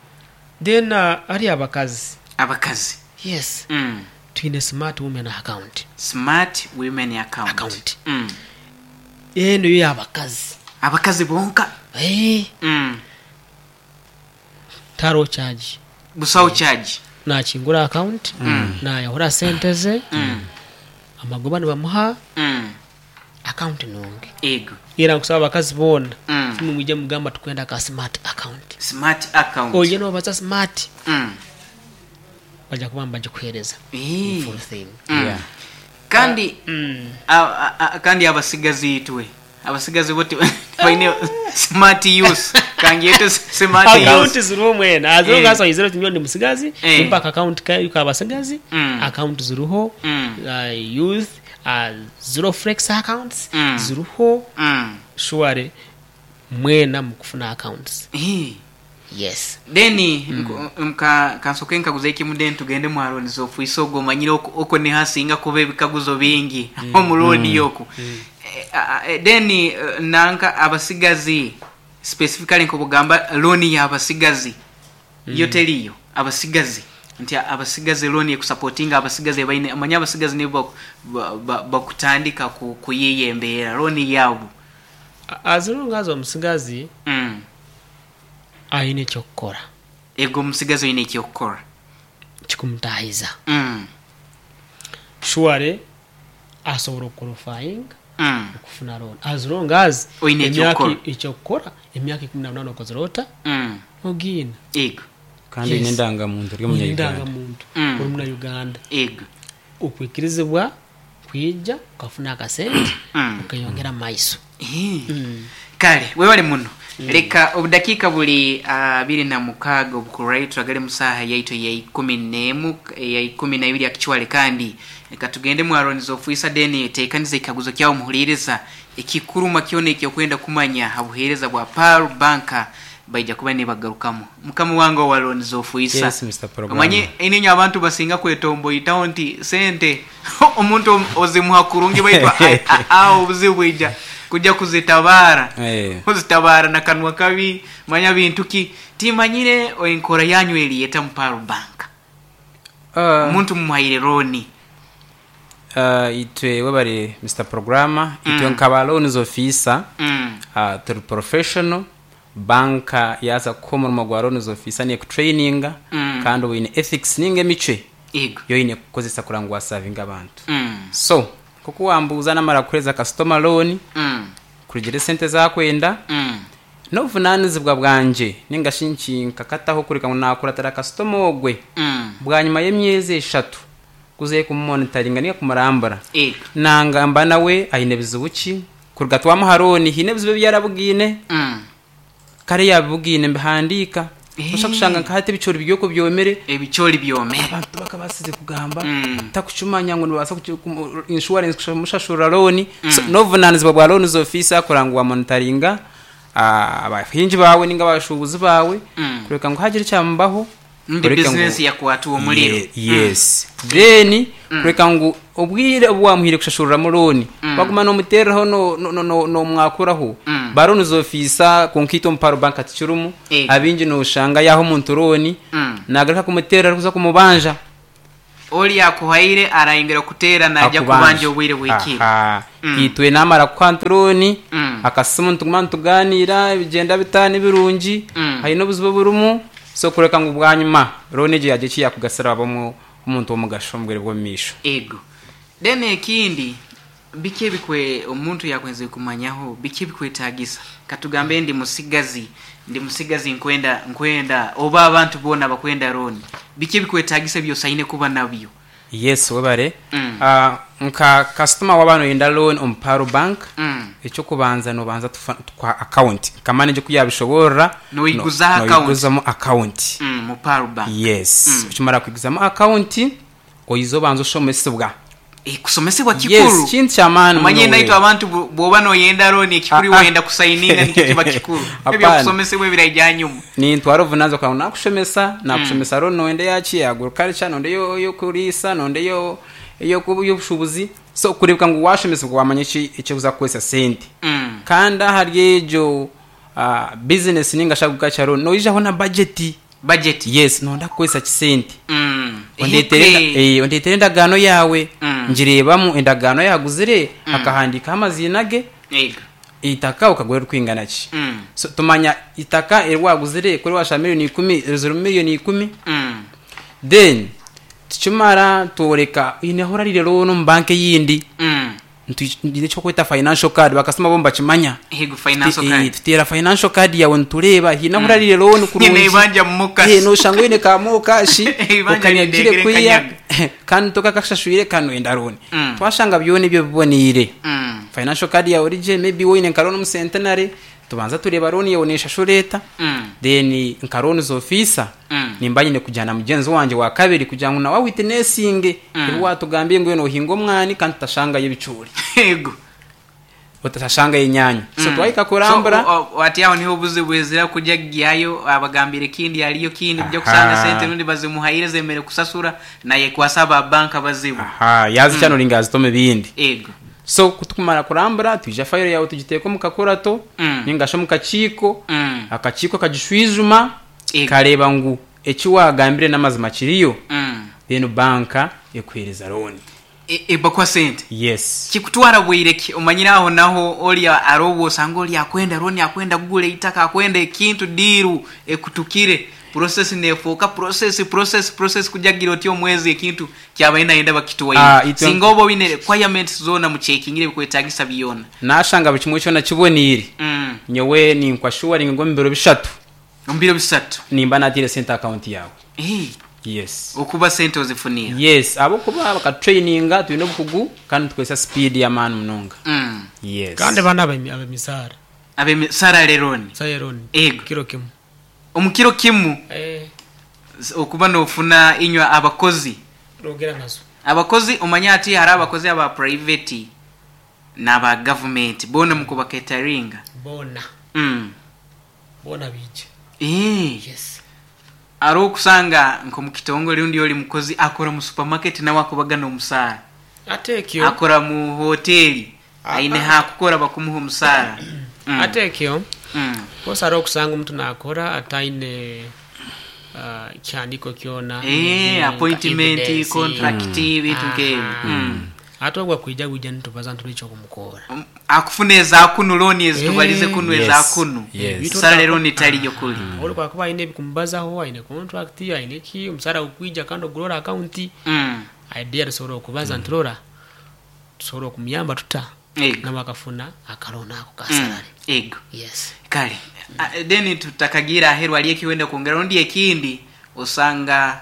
Then hariyo abakazi. Abakazi. Yes. Twine smart women account. Smart women account. Account. Eno yo y'abakazi. Abakazi bonka? Eeh. Tihariho charge. Busaho charge. Nakingura account, nayahura sente ze, amagoba nibamuha, account nungi. Ego. Era nkusaba abakazi boona, imwe mwije mugambe tukwenda ka smart account. Smart account. Oije nobaza smart, baja kuba nibagikuhereza in full thing. Kandi kandi abasigazi itwe abasigazi bo tibaine smart use kangyete smart use. Account ziriho mwena as long as oizire oti nyowe ndi musigazi nimpa aka account kabasigazi account ziriho youth zero flex accounts ziriho surely mwena mukufuna accounts. Yes. Then nka kansooke nkaguze ekimu then tugende mu Aroon's office ogwo omanyire okwo niho hasinga kuba ebikaguzo bingi omu looni okwo. Then nanka abasigazi specifically nk'obugamba looni y'abasigazi yo teriyo? Abasigazi nti abasigazi looni ekusapotinga abasigazi abaine omanye abasigazi nibo bakutandika kuyiiya embeera looni yaabo. As long as omusigazi aine eky'okukora. Ego omusigazi oine eky'okukora. Kikumutaahiza. Surely asobola okuqualifyinga okufuna loan as long as Oine emyaka eky'okukora. eky'okukora emyaka ikumi na munaana okozire ota? Ogiine. Ego. Kandi oine Yes. endangamuntu ori Oine omunya-Uganda. endangamuntu ori muna-Uganda. Ego. Okwikirizibwa kwija okafuna akasente okeyongera mu maiso. Kale webale muno. Leka obudakiika buli abiri na mukaaga obukuraitwa gari mu saaha yaitu eya ikumi n'emu, eya ikumi na ibiri actually kandi leka tugende mu Aroon's Officer then teekaniza ekikaguzo kyawe omuhuriiriza ekikuruma kyona eki okwenda kumanya ha buheereza bwa Pearl Bank baija kuba nibagarukamu. Mukama wange owa Loans Officer. Yes Mister Programmer. Omanye eininye abantu basinga kwetomboitaho nti sente omuntu ozimuha kurungi baitu aho obuzibu bwija kuja kuzitabaara. Ozitabaara na kanwa kabi manya bintu ki. Timanyire enkora yanyu eri eta mu Pearl Bank. Omuntu mumuhaire looni. Itwe webare Mister Programmer, itwe nka ba Loans Officer turi professional, banka yaaza kukuha omurimo gwa Loans Officer neekutureyininga kandi oba oine ethics ninga emicwe ei oine kukozesa kureba ngu waasavinga abantu. So nk'oku waambuuza naamara kuheereza kasitoma looni, kurugiirira esente ezi arikwenda, N'obuvunaanizibwa bwangye nainga shi nkinkakataho kureka ngu naakuratira kasitoma ogwe bwanyima y'emyezi eshatu kuzayo kumumonitaringa nainga kumurambura. Nangamba nawe aine bizibu ki, kuruga twamuha looni haine ebizibu ebi yarabugaine? Kare yaabibugaine mbihandiika. Noshusha kushanga nka hati ebicoori biri okwo byomire. Ebicoori byomire. Abantu tibakabaasize kugamba, takucumanya ngu nibabaasa inshuwarensi kumushashurira looni. So n'obuvunaanizibwa bwa loonizi ofiisa kureba ngu waamonitaringa abahingi baawe nainga abashuubuzi baawe kureka ngu haagira ekyamubaho Rundi oreke ngu bizinesi yakwatwa omuriro. Yes. Then kureka ngu obwire obu waamuhaire kushashuriramu looni waguma noomuteereraho noomwakuraho. Ba loans ofiisa kwonka itwe omu Pearl Bank tikirimu. Abaingi nooshanga yaaha omuntu looni naagaruka kumuteerera arikuza kumubanja. Ori akuhaire arayongera kuteera naija kubanja obwire buhikire. Aha. Itwe namara kukuha nti looni, akasimu nituguma nitugaaniira bigyenda bita nibirungi, haine obuzibu oburimu, so kureka ngu bwanyima looni egyo yaagira eki yaakugasira waaba omuntu w'omugasho omu bwire bw'omu maisho. Ego. Then ekindi. Biki ebikwe omuntu yakwenzire kumanyaho biki ebikwetagisa katugambe ndi musigazi ndi musigazi nkwenda nkwenda oba abantu boona abakwenda looni biki ebikwetagisa ebyosaine kuba nabyo? Yes webare. Nka kasitoma waba noyenda loan omu Pearl Bank, ekyokubanza nobanza tukuha account nka manager oku yabishoborora, Noiguzaho account. noiguzamu account. Mu Pearl Bank. Yes, okimara kwiguzamu account, oize obanze oshomesibwa. Kusomesibwa Yes, kikuru. kintu kyamaani Omanye muno naitwe we. abantu bwoba noyenda loan ekikuru iwe Ah, ah. oyenda kusayininga nikyo kiba kikuru. Hapana. Ebyokusomesibwa ebiraija ahanyuma. Nintwara obuvunanizibwa kugira ngu nakushomesa, nakushomesa loan noyenda eyaki, eya agriculture, noyenda ey'okuriisa, noyenda ey'obushubuzi. So kureebeka ngu washomesibwa wamanya eki eki orikuza kukoresa sente. Kandi ahari egyo business ninga shi agriculture loan noijaho na budget. Budget. Yes, noyenda kukoresa ki sente. Mm. Ondeetere Ehike. ondeetere endagaano yaawe, ngireebamu endagaano yaaguzire, akahandiikaho amaziina ge, Ego. eitaka okagura erikwingana ki. So tumanya eitaka eri waaguzire ku riwaashaba miriyoni ikumi, rizirimu miriyoni ikumi. Then tukimara tworeka oine ahu orariire loan omu banka eyindi. Nitwija eki barikweta financial card bakasitoma bo nibakimanya. Yego financial card. Tuteera financial card yaawe nitureeba haine ahu orariire loan kurungi. Nyine eibanja mu Mokash. Noshanga oine ka Mokash Eibanja okanyagire rindengire kwiya nkanyaga. kandi tokakashashwire kandi noyenda loan. Twashanga byona ebyo biboneire, financial card yaawe eri gye maybe waaba oine nka loan omu Centenary, Tubanza tureeba loan yaawe neshashura eta, then nka loans officer nimba nyine kujya na mugyenzi wangye wa kabiri kugira ngu nawe awitinesinge ebi watugambiire ngu iwe nohinga omwani kandi tutashangayo ebicoori, Yego. otashangayo enyaanya. So twahika So kurambura. ati aho niho obuzibu bwizira kujya kugyayo abagambire ekindi hariyo kindi kujya kusanga sente rundi bazimuhaire zemere kusasura nayekwasa aba bank abazibu. Aha, yazikya noringa yazita omu bindi. Yego. So ku tukumara kurambura, twija fayiro yaawe tugiteeka omu kakurato nainga shi omu kakiiko, akakiiko kagishwijuma kareeba ngu eki waagambire n'amazima kiriyo, then banka ekuheereza looni. Ebakuha sente? Yes. Kikutwara bwire ki? Omanyire aho naho ori aroobwo osanga ori akwenda looni akwenda kugura eitaka akwenda ekintu diiru ekutukire. Process nefuuka process process process kujagira oti omwezi ekintu kyabaire nayenda bakitwaire. Ah, itwe Singa oba oine requirements zoona muchekingire ebikwetagisa byona. Nashanga buri kimwe kyona kiboneire, nyowe ninkwashuwaringa ngu omu biro bishatu. Omu biro bishatu. Nimba nataire sente aha akawunti yaawe. Eeh. Yes. Okuba sente ozifunire. Yes, ahabw'okuba bakatutrayininga, twine obukugu kandi nitukozesa sipiidi y'amaani munonga. Yes. Kandi banu ab'emisaara. Ab'emisaara loan. Salary loan. Ego. Kiro kimu. Omu kiro kimu okuba nofuna inywe abakozi. Nogera nazo. Abakozi omanye hati hariho abakozi aba private naba government boona mukubaketaringa. Boona. Boona baija. Yes. Hariho okusanga nkomu kitongore rundi ori mukozi akora mu supermarket nawe akubagana omusaara. Ate ekyo. Akora mu hoteri Aine haakukora bakumuha omusaara. Ate ekyo, of hariho okusanga omuntu naakora ataine kihandiiko kyona, Eeh, nka appointment, evidence. contract, ebintu nk'ebyo. Ate ogwo akwija bwija nitubaza nti n'eky'okumukora. Akufuna eza kunu looni ezi tubarize kunu eza Yes, kunu. yes. Salary looni tariyo kuri. Ori ku akuba aine ebikumubazaho, aine contract, aine ki, omusaara gukwija kandi ogurora akawunti, idea tusobora okubaza nti rora, Tusobora okumuyamba tuta Ego. nawe akafuna akalooni ako ka salary? Ego. Yes. Kale then tutakagiire aheru hariyo eki wenda kwongera rundi ekindi osanga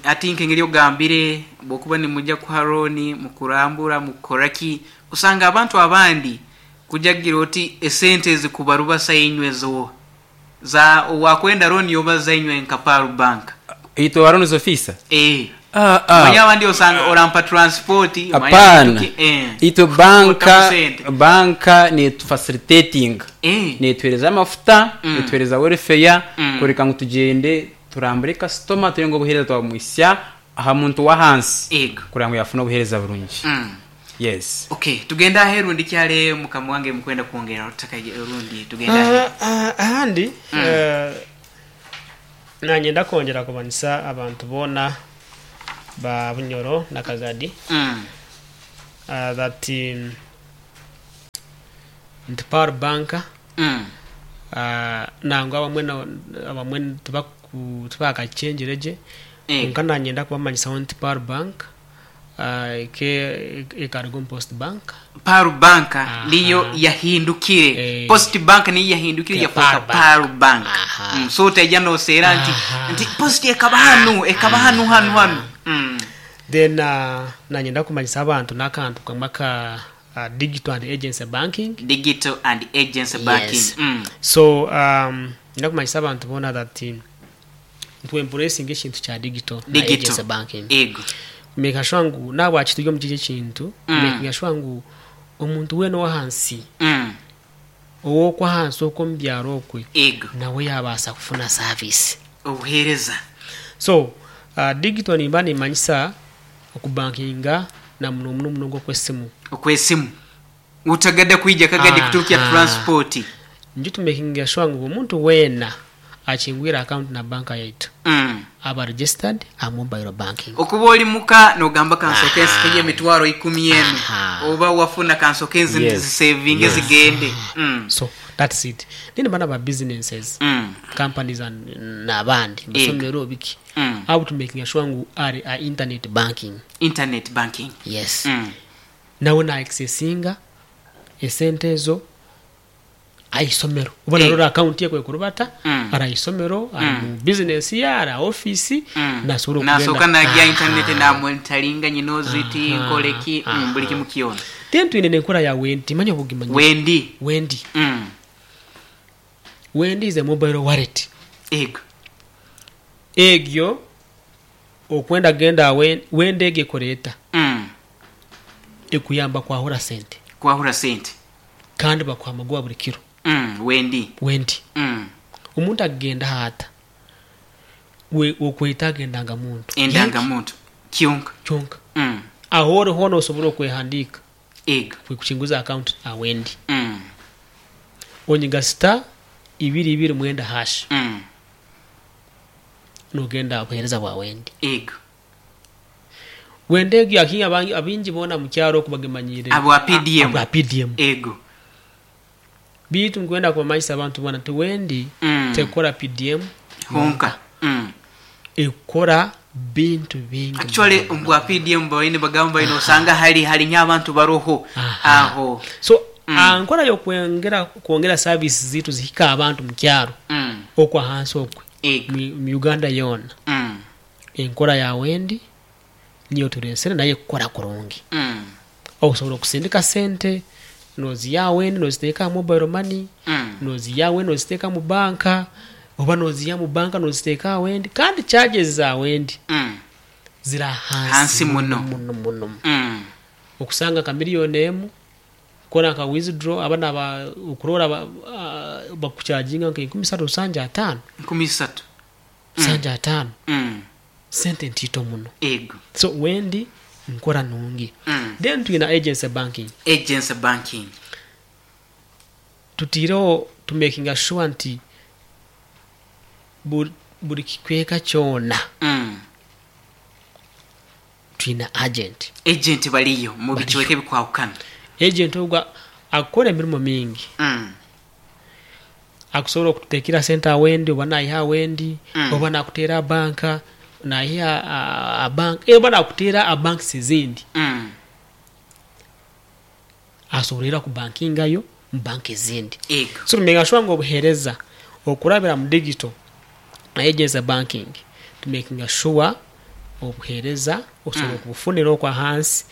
hati nk'engeri ogambire bwokuba nimujya kuha looni mukurambura mukukora ki osanga abantu abandi kuja kugira oti esente ezikubarubasa inywe zo za owakwenda looni yobaza inywe nka Pearl Bank. Itwe ba loans officer? Eeh. Ah, ah. Omanye abandi osanga orampa transport, omanye Apana. bintu ki, eh. Itwe banka Otamu sente. banka netufacilitatinga. Eh. Netuhereza amafuta, netuhereza welfare, Mm. kureka ngu tugyende turambure kasitoma turebe ngu obuhereza twabumuhitsya aha muntu w'ahansi Ego. kureba ngu yafuna obuhereza burungi. Yes. Okay, tugende aheru ndi kyale mukama wange mukwenda kwongera tutakaje orundi tugende aheru. Ahandi nanyenda kwongyera kumanyisa abantu boona ba Bunyoro na Kagadi that nti Pearl Bank nangwa abamwe abamwe tibakakyengyire gye kwonka nanyenda kubamanyisaho nti Pearl Bank. Ekaruga omu Post Bank. Pearl Bank niyo yahindukire. Post Bank niyo yahindukire yafuuka Pearl Bank. So otaija noseera nti nti Post ekaba hanu, ekaba hanu hanu hanu. Then nanyenda kumanyisa abantu n'akantu kamwe aka Digital and Agency Banking. Digital and Agency Banking. Yes. So niinyenda kumanyisa abantu boona that nitwe embracinga ekintu kya digital na Digital. agency banking. Ego. Kumakinga sure ngu nahabwaki turi omu kiki ekintu, kumakinga sure ngu omuntu weena ow'ahansi, ow'okwo ahansi okwo omu byaro okwe, Ego. nawe yaabaasa kufuna service. Obuheereza. So, digital nimba nimmanyisa okubankinga na muno muno munonga okw'esimu. Okw'esimu. Otagada kwija kagadi kuturukya transport. Nju tumakinga sure ngu omuntu weena akingwire account na bank yaitu aba registered aha mobile banking. Okuba ori muka nogamba kansoke nsikeyo emitwaro ikumi enu oba wafuna kansoke nzisevinge zigende. So that's it. Then bano aba businesses, companies and nabandi, amasomero biki, abo tumakinga sure ngu ari aha internet banking. Internet banking. Yes. Nawe na accessinga esente ezo aha isomero oba narora account ye kwekurubata ari aha isomero, ari mu business ye, ari aha office nasobora Nasooka okugenda. nagya aha internet namonitaringa nyine oziti nkore ki buri kimu kyona. Then twine nenkora ya Wendi manya oba ogimanyire. Wendi. Wendi. Wendi is a mobile wallet. Ego. Egyo okwenda genda aha Wendi egyo ekora eta? Ekuyamba kwahura sente. Kwahura sente. Kandi bakuha amagoba buri kiro. Wendi. Wendi. Omuntu akugendaho ata? We okweta aga endangamuntu. Endangamuntu kyonka. Kyonka. Ahu ori hoona osobora okwehandiika. Ego. Kukinguza account aha Wendi. Onyiga star ibiri ibiri mwenda hash. Nogenda aha buheereza bwa Wendi. Ego. Wendi egyo ahi abaingi boona omu kyaro oku bagimanyiire Abwa PDM. Abwa PDM. Ego. Beitu nkwenda kubamanyisa abantu boona nti Wendi tekukora PDM Honka. Ekukora bintu bingi Actually muno. omu bwa PDM babaire nibagamba baine osanga hari hari nk'abantu baroho aho. So ankora y'okwongera kwongera service zaitu zihike abantu mu kyaro okwo ahansi okwe Ego. mu Uganda yoona. Enkora ya Wendi niyo tureesire nayo ekukora kurungi. Osobola okusindika sente noziiha aha Wendi noziteeka aha mobile money, noziiha aha Wendi noziteeka omu banka, oba noziiha omu banka noziteeka aha Wendi kandi charges za Wendi ziri ahansi Hansi muno. muno muno. Okusanga nka million emu kukora nka withdraw aba naba okurora bakucharginga nka enkumi isatu rusanju ataano. Enkumi isatu. Rusanju ataano. Sente ntiito muno. Ego. So Wendi nkora nungi. Then twine Agency Banking. Agency Banking. Tutaireho tumakinga sure nti buri kicweka kyona twine agent. Agent bariyo mu bicweka ebikwahukana. Agent ogwo akukora emirimo mingi. Akusobola okututeekera sente awendi oba naiha awendi oba nakuteera aha banka naiha aha banka oba nakuteera aha banks ezindi. Asobola era kubankingayo omu banka ezindi. Ego. So tumakinga sure ngu obuheereza okurabira mu digital na agency banking tumakinga sure obuheereza osobola okubufunira okwo ahansi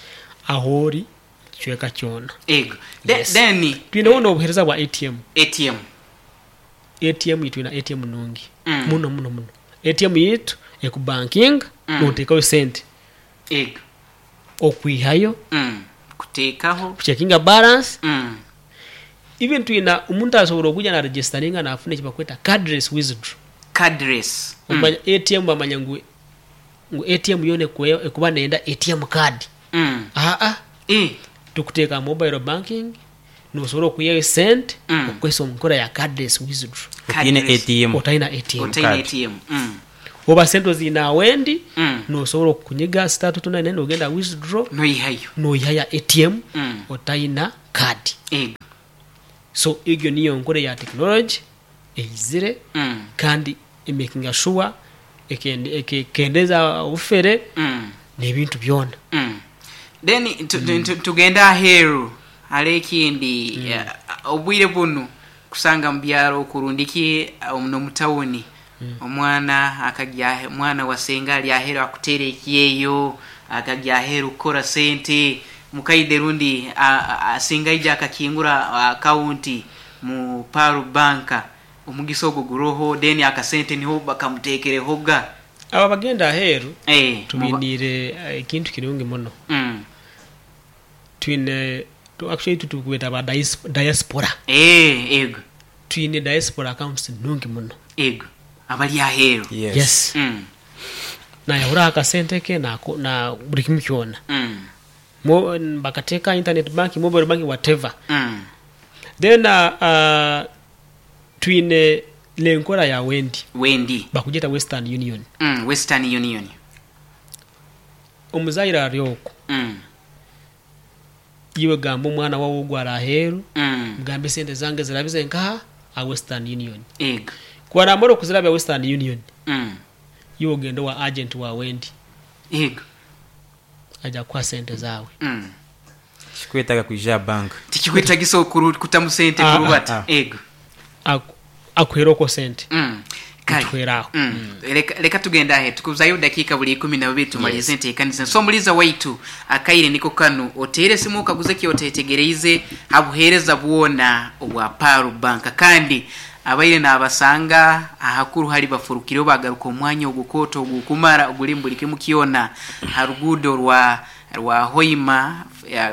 ahori kicweka kyona. Ego. Yes. Then Twineho n'obuheereza bwa ATM. ATM. ATM itwe twine ATM nungi muno muno muno. ATM yaitu ekubankinga noteekayo sente Ego. okwihayo, Kuteekaho. kucekinga balance. Even twine omuntu asobola okwija na registeringa nafuna ekibakweta cardless withdraw. Cardless. Omanya ATM bamanya ngu ngu ATM yoona ekuba neyenda ATM card. Aa, tukuteeka aha mobile banking nosobola okwihayo esente okukozesa omu nkora ya cardless withdraw. Otaine ATM. Otaine ATM Otaine card. ATM. Oba sente oziine awendi, nosobola okunyiga star two two nine nine nogenda aha withdraw Noihayo. noihayo aha ATM otaina card. Ego. So egyo niyo nkora eya technology eizire kandi emakinga sure ekendeza obufere n'ebintu byona. Then tugende aheeru hare ekindi obwire bunu kusanga mu byaro oku rundi ki n'omu tawuni omwana akagya omwana wa senga ari aheeru akuteera ekyeyo akagya aheeru kukora sente mukaide rundi singa aija akakingura akawunti mu Pearl Bank omugisa ogwo guroho then akasente niho bakamuteekerehoga. Abo abagenda aheeru tubainiire ekintu kirungi muno. Twine, actually itwe tubeeta ba diaspora. Ego. Twine diaspora accounts nungi muno. Ego, abali aheeru. Yes. Nayahuraho akasente ke na buri kimu kyona. Bakateeka aha internet banking, mobile banking, whatever. Then twine n'enkora ya Wendi. Wendi. Bakugyeta Western Union. Western Union. Omuzaire ari okwo, iwe gamba omwana wawe ogwo ari aheeru, mugambe esente zange zirabize nkaha? Aha Western Union. Ego. Ku araamara okuzirabya Western Union, iwe ogende owa agenti wa Wendi. Ego. Aija kukuha sente zaawe. Tikikwetaaga kwija aha banka. Tikikwetagisa kutamu sente kurubata. Ego. Akuhere okwo sente. Kale. Nituhwera aho. Leka tugende ahe tukuzayo dakiika buli ikumi na bubiri tumalirize enteekaniza. So omuliiza waitu akaire niko kanu oteere esimu okaguze eki oteetegereize ha buheereza bwona obwa Pearl Bank. Kandi abaire naabasanga ahakuru hari bafurukireho baagaruka omu mwanya ogukooto ogukumara ogurimu buri kimu kyona ha ruguudo rwa rwa Hoima,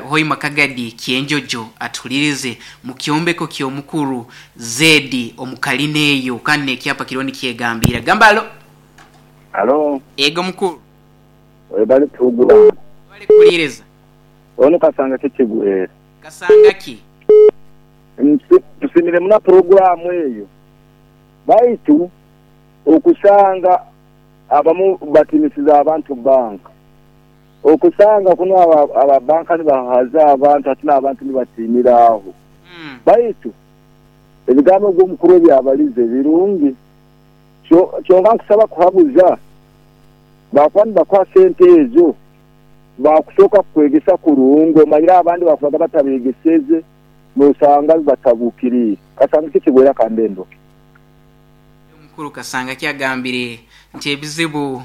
Hoima Kagadi Kyenjojo atuhuririze mu kyombeko ky'omukuru Zedi omu kalina eyo kandi n'ekyapa kiriho nikyegambiira. Gamba alo. Alo. Ego mukuru. Webale puroguramu. Webale kuhuririza. Onu Kasanga ki kigwere? Kasanga ki? Nsiimire muno puroguramu eyo baitu okusanga abamu batinisize abantu banka. Okusanga kunu aba banka nibahahaza abantu hati n'abantu nibatiinira agho. Baitu ebigambo ogwo omukuru ebyabalize birungi. Kyonka nkusaba kuhabuza, bakuba nibakuha sente ezo, bakusooka kukwegesa kurungi omanyire abandi bakubaga batabegeseze nosanga bibatabukiriire. Kasanga tikigwera kambe ndoke. Omukuru Kasangaki agambire nti ebizibu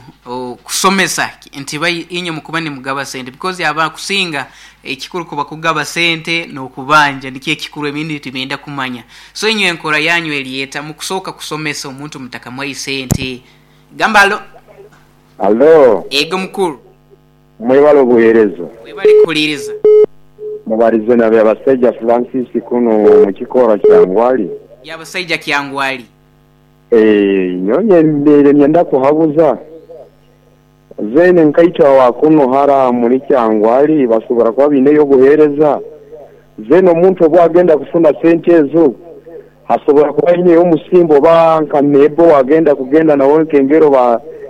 kusomesa nti inywe mukuba nimugaba sente because abakusinga ekikuru kuba kugaba sente n'okubanja nikyo ekikuru ebindi tibenda kumanya. So inywe enkora yanyu eri eta mukusooka kusomesa omuntu mutakamuhayo sente. Gamba alo. Alo. Ego mukuru. Mwebale obuhereza. Webale kuhuliriza. Mubarize na Byabasaija Francis kunu mu kikoora Kyangwali. Byabasaija Kyangwali. Eeh nyowe mbaire niinyenda kuhabuza, zeena nkaitwe awa kunu hara omuri Kyangwali basobora kuba baineyo obuheereza, zeena omuntu obu agenda kufuna sente ezo hasobora kuba haineyo omusimbo oba nka neebo owagenda kugenda nawe nkengero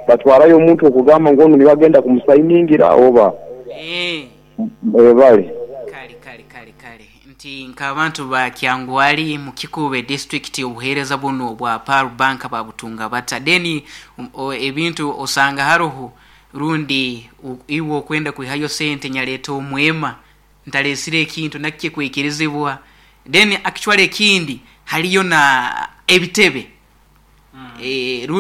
batwarayo omuntu okugamba ngu onu niwe agenda kumusayiningira oba. Mwebale. Kale kale kale kale nti nk'abantu ba Kyangwali mu Kikuube disitulikiti obuheereza bunu obwa Pearl Bank babutunga bata? Then ebintu osanga haroho rundi iwe okwenda kwihayo sente nyaleeta omwema ntalesire ekintu nakyo kwikirizibwa. Then actually ekindi haliyo na ebitebe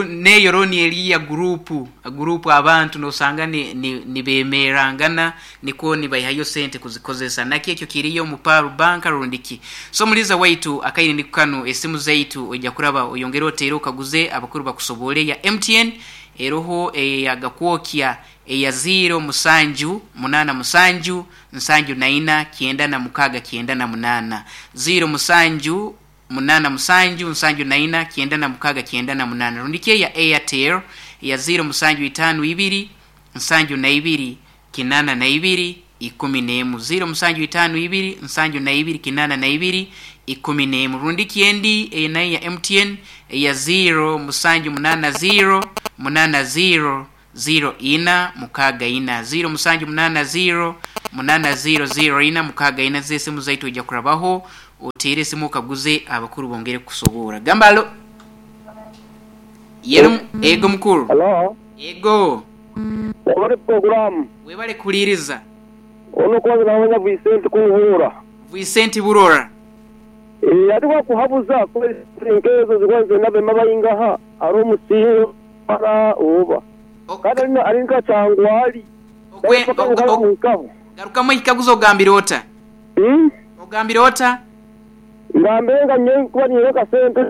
N'eyo looni eri ya guruupu, guruupu abantu n'osanga nibeemerangana nikwo nibaihayo sente kuzikozesa. Nakyo ekyo kiriyo omu Pearl Bank rundi ki. So omuliiza waitu akaire niko kanu esimu zaitu oija kuraba oyongere oteere okaguze abakuru bakusoboore eya MTN eroho eya Gakwokya eya ziiro musanju munaana musanju nsanju na ina kyenda na mukaaga kyenda na munaana. Ziiro musanju Munaana musanju nsanju na ina kyenda na mukaaga kyenda na munaana rundi ki eya Airtel eya ziiro musanju itaanu ibiri nsanju na ibiri kinaana na ibiri ikumi n'emu ziiro musanju itaanu ibiri nsanju na ibiri kinaana na ibiri ikumi n'emu rundi ki endi eyo nayo ya MTN eya ziiro musanju munaana ziiro munaana ziiro ziiro ina mukaaga ina ziiro musanju munaana ziiro munaana ziiro ziiro ina mukaaga ina z'esimu zaitu oija kurabaho oteere esimu okaguze abakuru bongere kukusoboora. Gamba alo. Yero ego mukuru. Halo. Ego. Webale pulogulaamu. Webale kuhuliriza. Ono okubanza naamanya Vicente Kubuura. Vicente Burora. Eeh hati wakuhabuza kuba esente nkezo zikuba nizenda abema baingaha ari omusinga mara oba kandi ari ari nka Kyangwali Okwe, paka og, nka og, muhikaho. garukamu ekikaguzo ogambire ota? Ogambire ota? Ngambire nga nyowe nkuba nyine akasente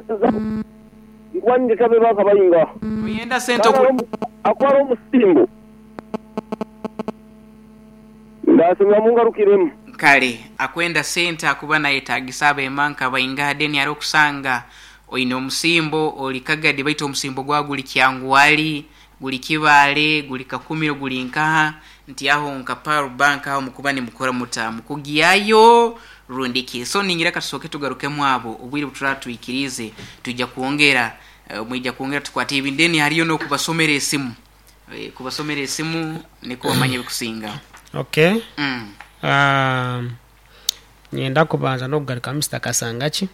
nkuba nindeta abema nka baingaha Noyenda sente kandi oku. ari akuba ari omusingo. Ndasimwa mungarukiremu. Kale akwenda sente akuba nayetagisa abema nka baingaha then ari okusanga oine omusimbo ori Kagadi baitu omusimbo gwawe guri Kyangwali, guri Kibaale, guri Kakumiro guri nkaha nti aho nka Pearl Bank aho mukuba nimukora muta? Mukugyayo rundi ki? So ningira katusooke tugarukemu abo obwire buturatwikiriize twija kwongera mwija kwongera tukwate ebi then hariyo nokubasomera esimu. Kubasomera esimu nikwo bamanye ebikusingaho. Okay. Nyenda kubanza n'okugaruka Mister Kasangaki.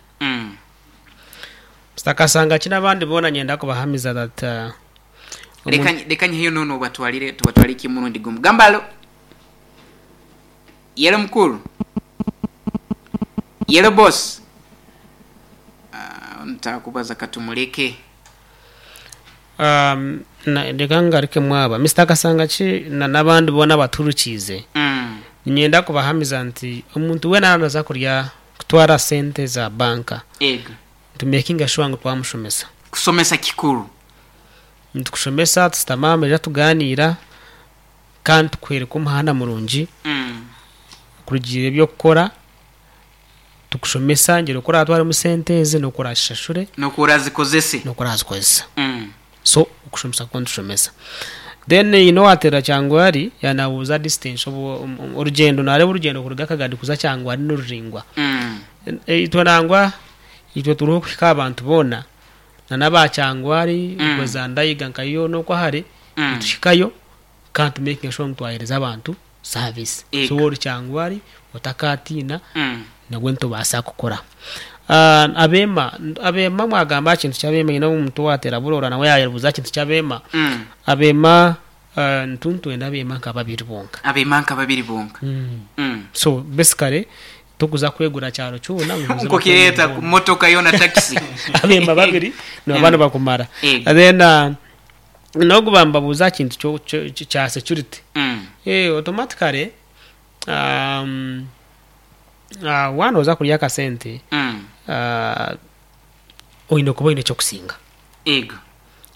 Mister Kasangaki n'abandi boona nyenda kubahamiza that Leka leka nyiheyo nono obatwalire tubatwalire ki murundi gumu. Gamba alo. Yelo mukuru. Yelo boss. Ah, ntakubaza katumuleke. Reka ngarukemu aba. Mister Kasangaki na n'abandi boona abatuhurukiize, niinyenda kubahamiza nti omuntu weena yaaba naaza kurya kutwara sente za banka, nitumekinga shuwa ngu twamushomesa. Kusomesa kikuru. Nitukushomesa, tushutama aha meeza tugaaniira kandi tukworeka omuhanda murungi kurugiirira eby'okukora. Tukushomesa ngyera oku oratwaremu sente ezi n'oku orazishashure. N'oku orazikozese. N'oku orazikozesa. So okushomesa kwo nitushomesa. Then haine owateera Kyangwari yaanabuuza distance obu orugyendo naareeba orugyendo kuruga Kagadi kuza Kyangwari niruraingwa. Itwe nangwa itwe turiho kuhika aha bantu boona na n'aba Kyangwari okwo za Ndaiga nka yoona okwo ahare nituhikayo Kandi tu makinge sure ngu twahereza abantu service. So waaba ori Kyangwari otakatiina nabwo nitubaasa kukora. Abeema, abeema mwagamba aha kintu ky'abeema haine omuntu owateera buroora nawe yayebuuza aha kintu ky'abeema. Abeema nitwenda abeema nka babiri bonka. Abeema nka babiri bonka. So basically tokuza kwegura kyaro kyona ngu oze Nkokireeta motoka yoona takisi. Abeema babiri nibaba nibakumara. Then N'ogu bambabuuza aha kintu kya security, automatically waaba nooza kurya akasente, oine kuba oine eky'okusinga.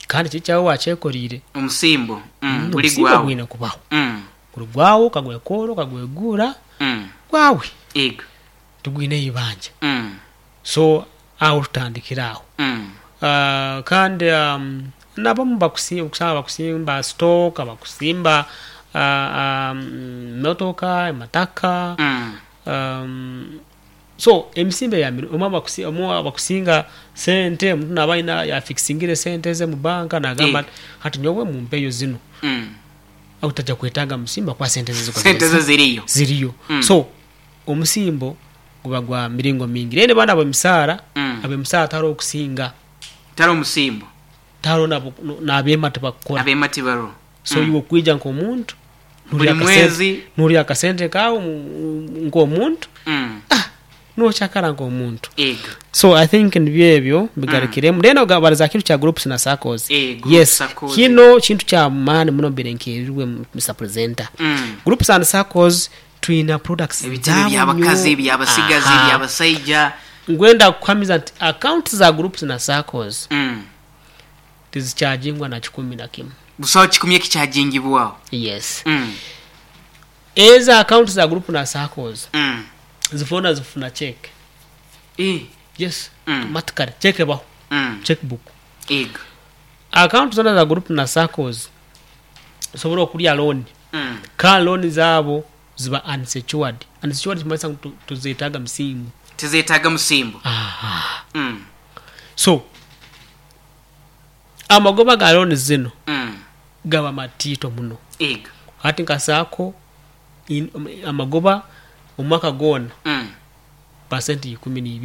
Kandi kiri ekyawe waakyekoreire. Omusimbo guri Omusimbo gwawe. gwine kubaho. Guri gwawe okagwekoora okagweguura, gwawe. Tigwine eibanja. So aho tutandikire aho. Kandi n'abamu okusanga bakusimba sitooka, bakusimba motoka, amataka. So emisimbo eya mirungi, omwe abakusinga sente, omuntu naaba aine yafikisingire esente ze omu banka nagamba ati hati nyowe mumpeyo zinu. Otaja kwetaaga musimbo ahakuba sente ze Sente ze ziriyo. ziriyo. So Omusimbo guba gwa miringo mingi. Then banu ab'emisaara, ab'emisaara tihariho okusinga. Tihariho musimbo. Tihariho n'abeema tibakukora. Abeema tibariho. So iwe okwija nk'omuntu, Buri mwezi. noorya akasente kaawe nk'omuntu, nookyakara nk'omuntu. Ego. So I think nibyo ebyo mbigarukiremu. Then obarize aha kintu kya groups na SACCOs. Groups, Yes, SACCOs. kino kintu kya maani muno mbaire nkeerirwe Mister Presenter. Groups and SACCOs Twina products Ebitebe zaabo by'abakazi, nyo. eby'abasigazi, Aha. eby'abasaija. Ngwenda kukuhamiza nti accounts za groups na SACCOs tizikyagingwa na kikumi na kimwe. Busaho kikumi ekikyagingibwaho. Yes. Ezo accounts za group na SACCOs zifuna zifuna cheque. Yes, automatically cheque ebaho, cheque book. Ego. Account zona za group na SACCOs osobola okurya loan kandi loan zaabo ziba unsecured. Unsecured nikimanyisa ngu tizetaaga musimbo. Tizetaaga musimbo. Aha. So amagoba ga loan zino gaba matiito muno. Ego. Hati nka sacco amagoba omwaka gwona pasenti ikumi na ibiri.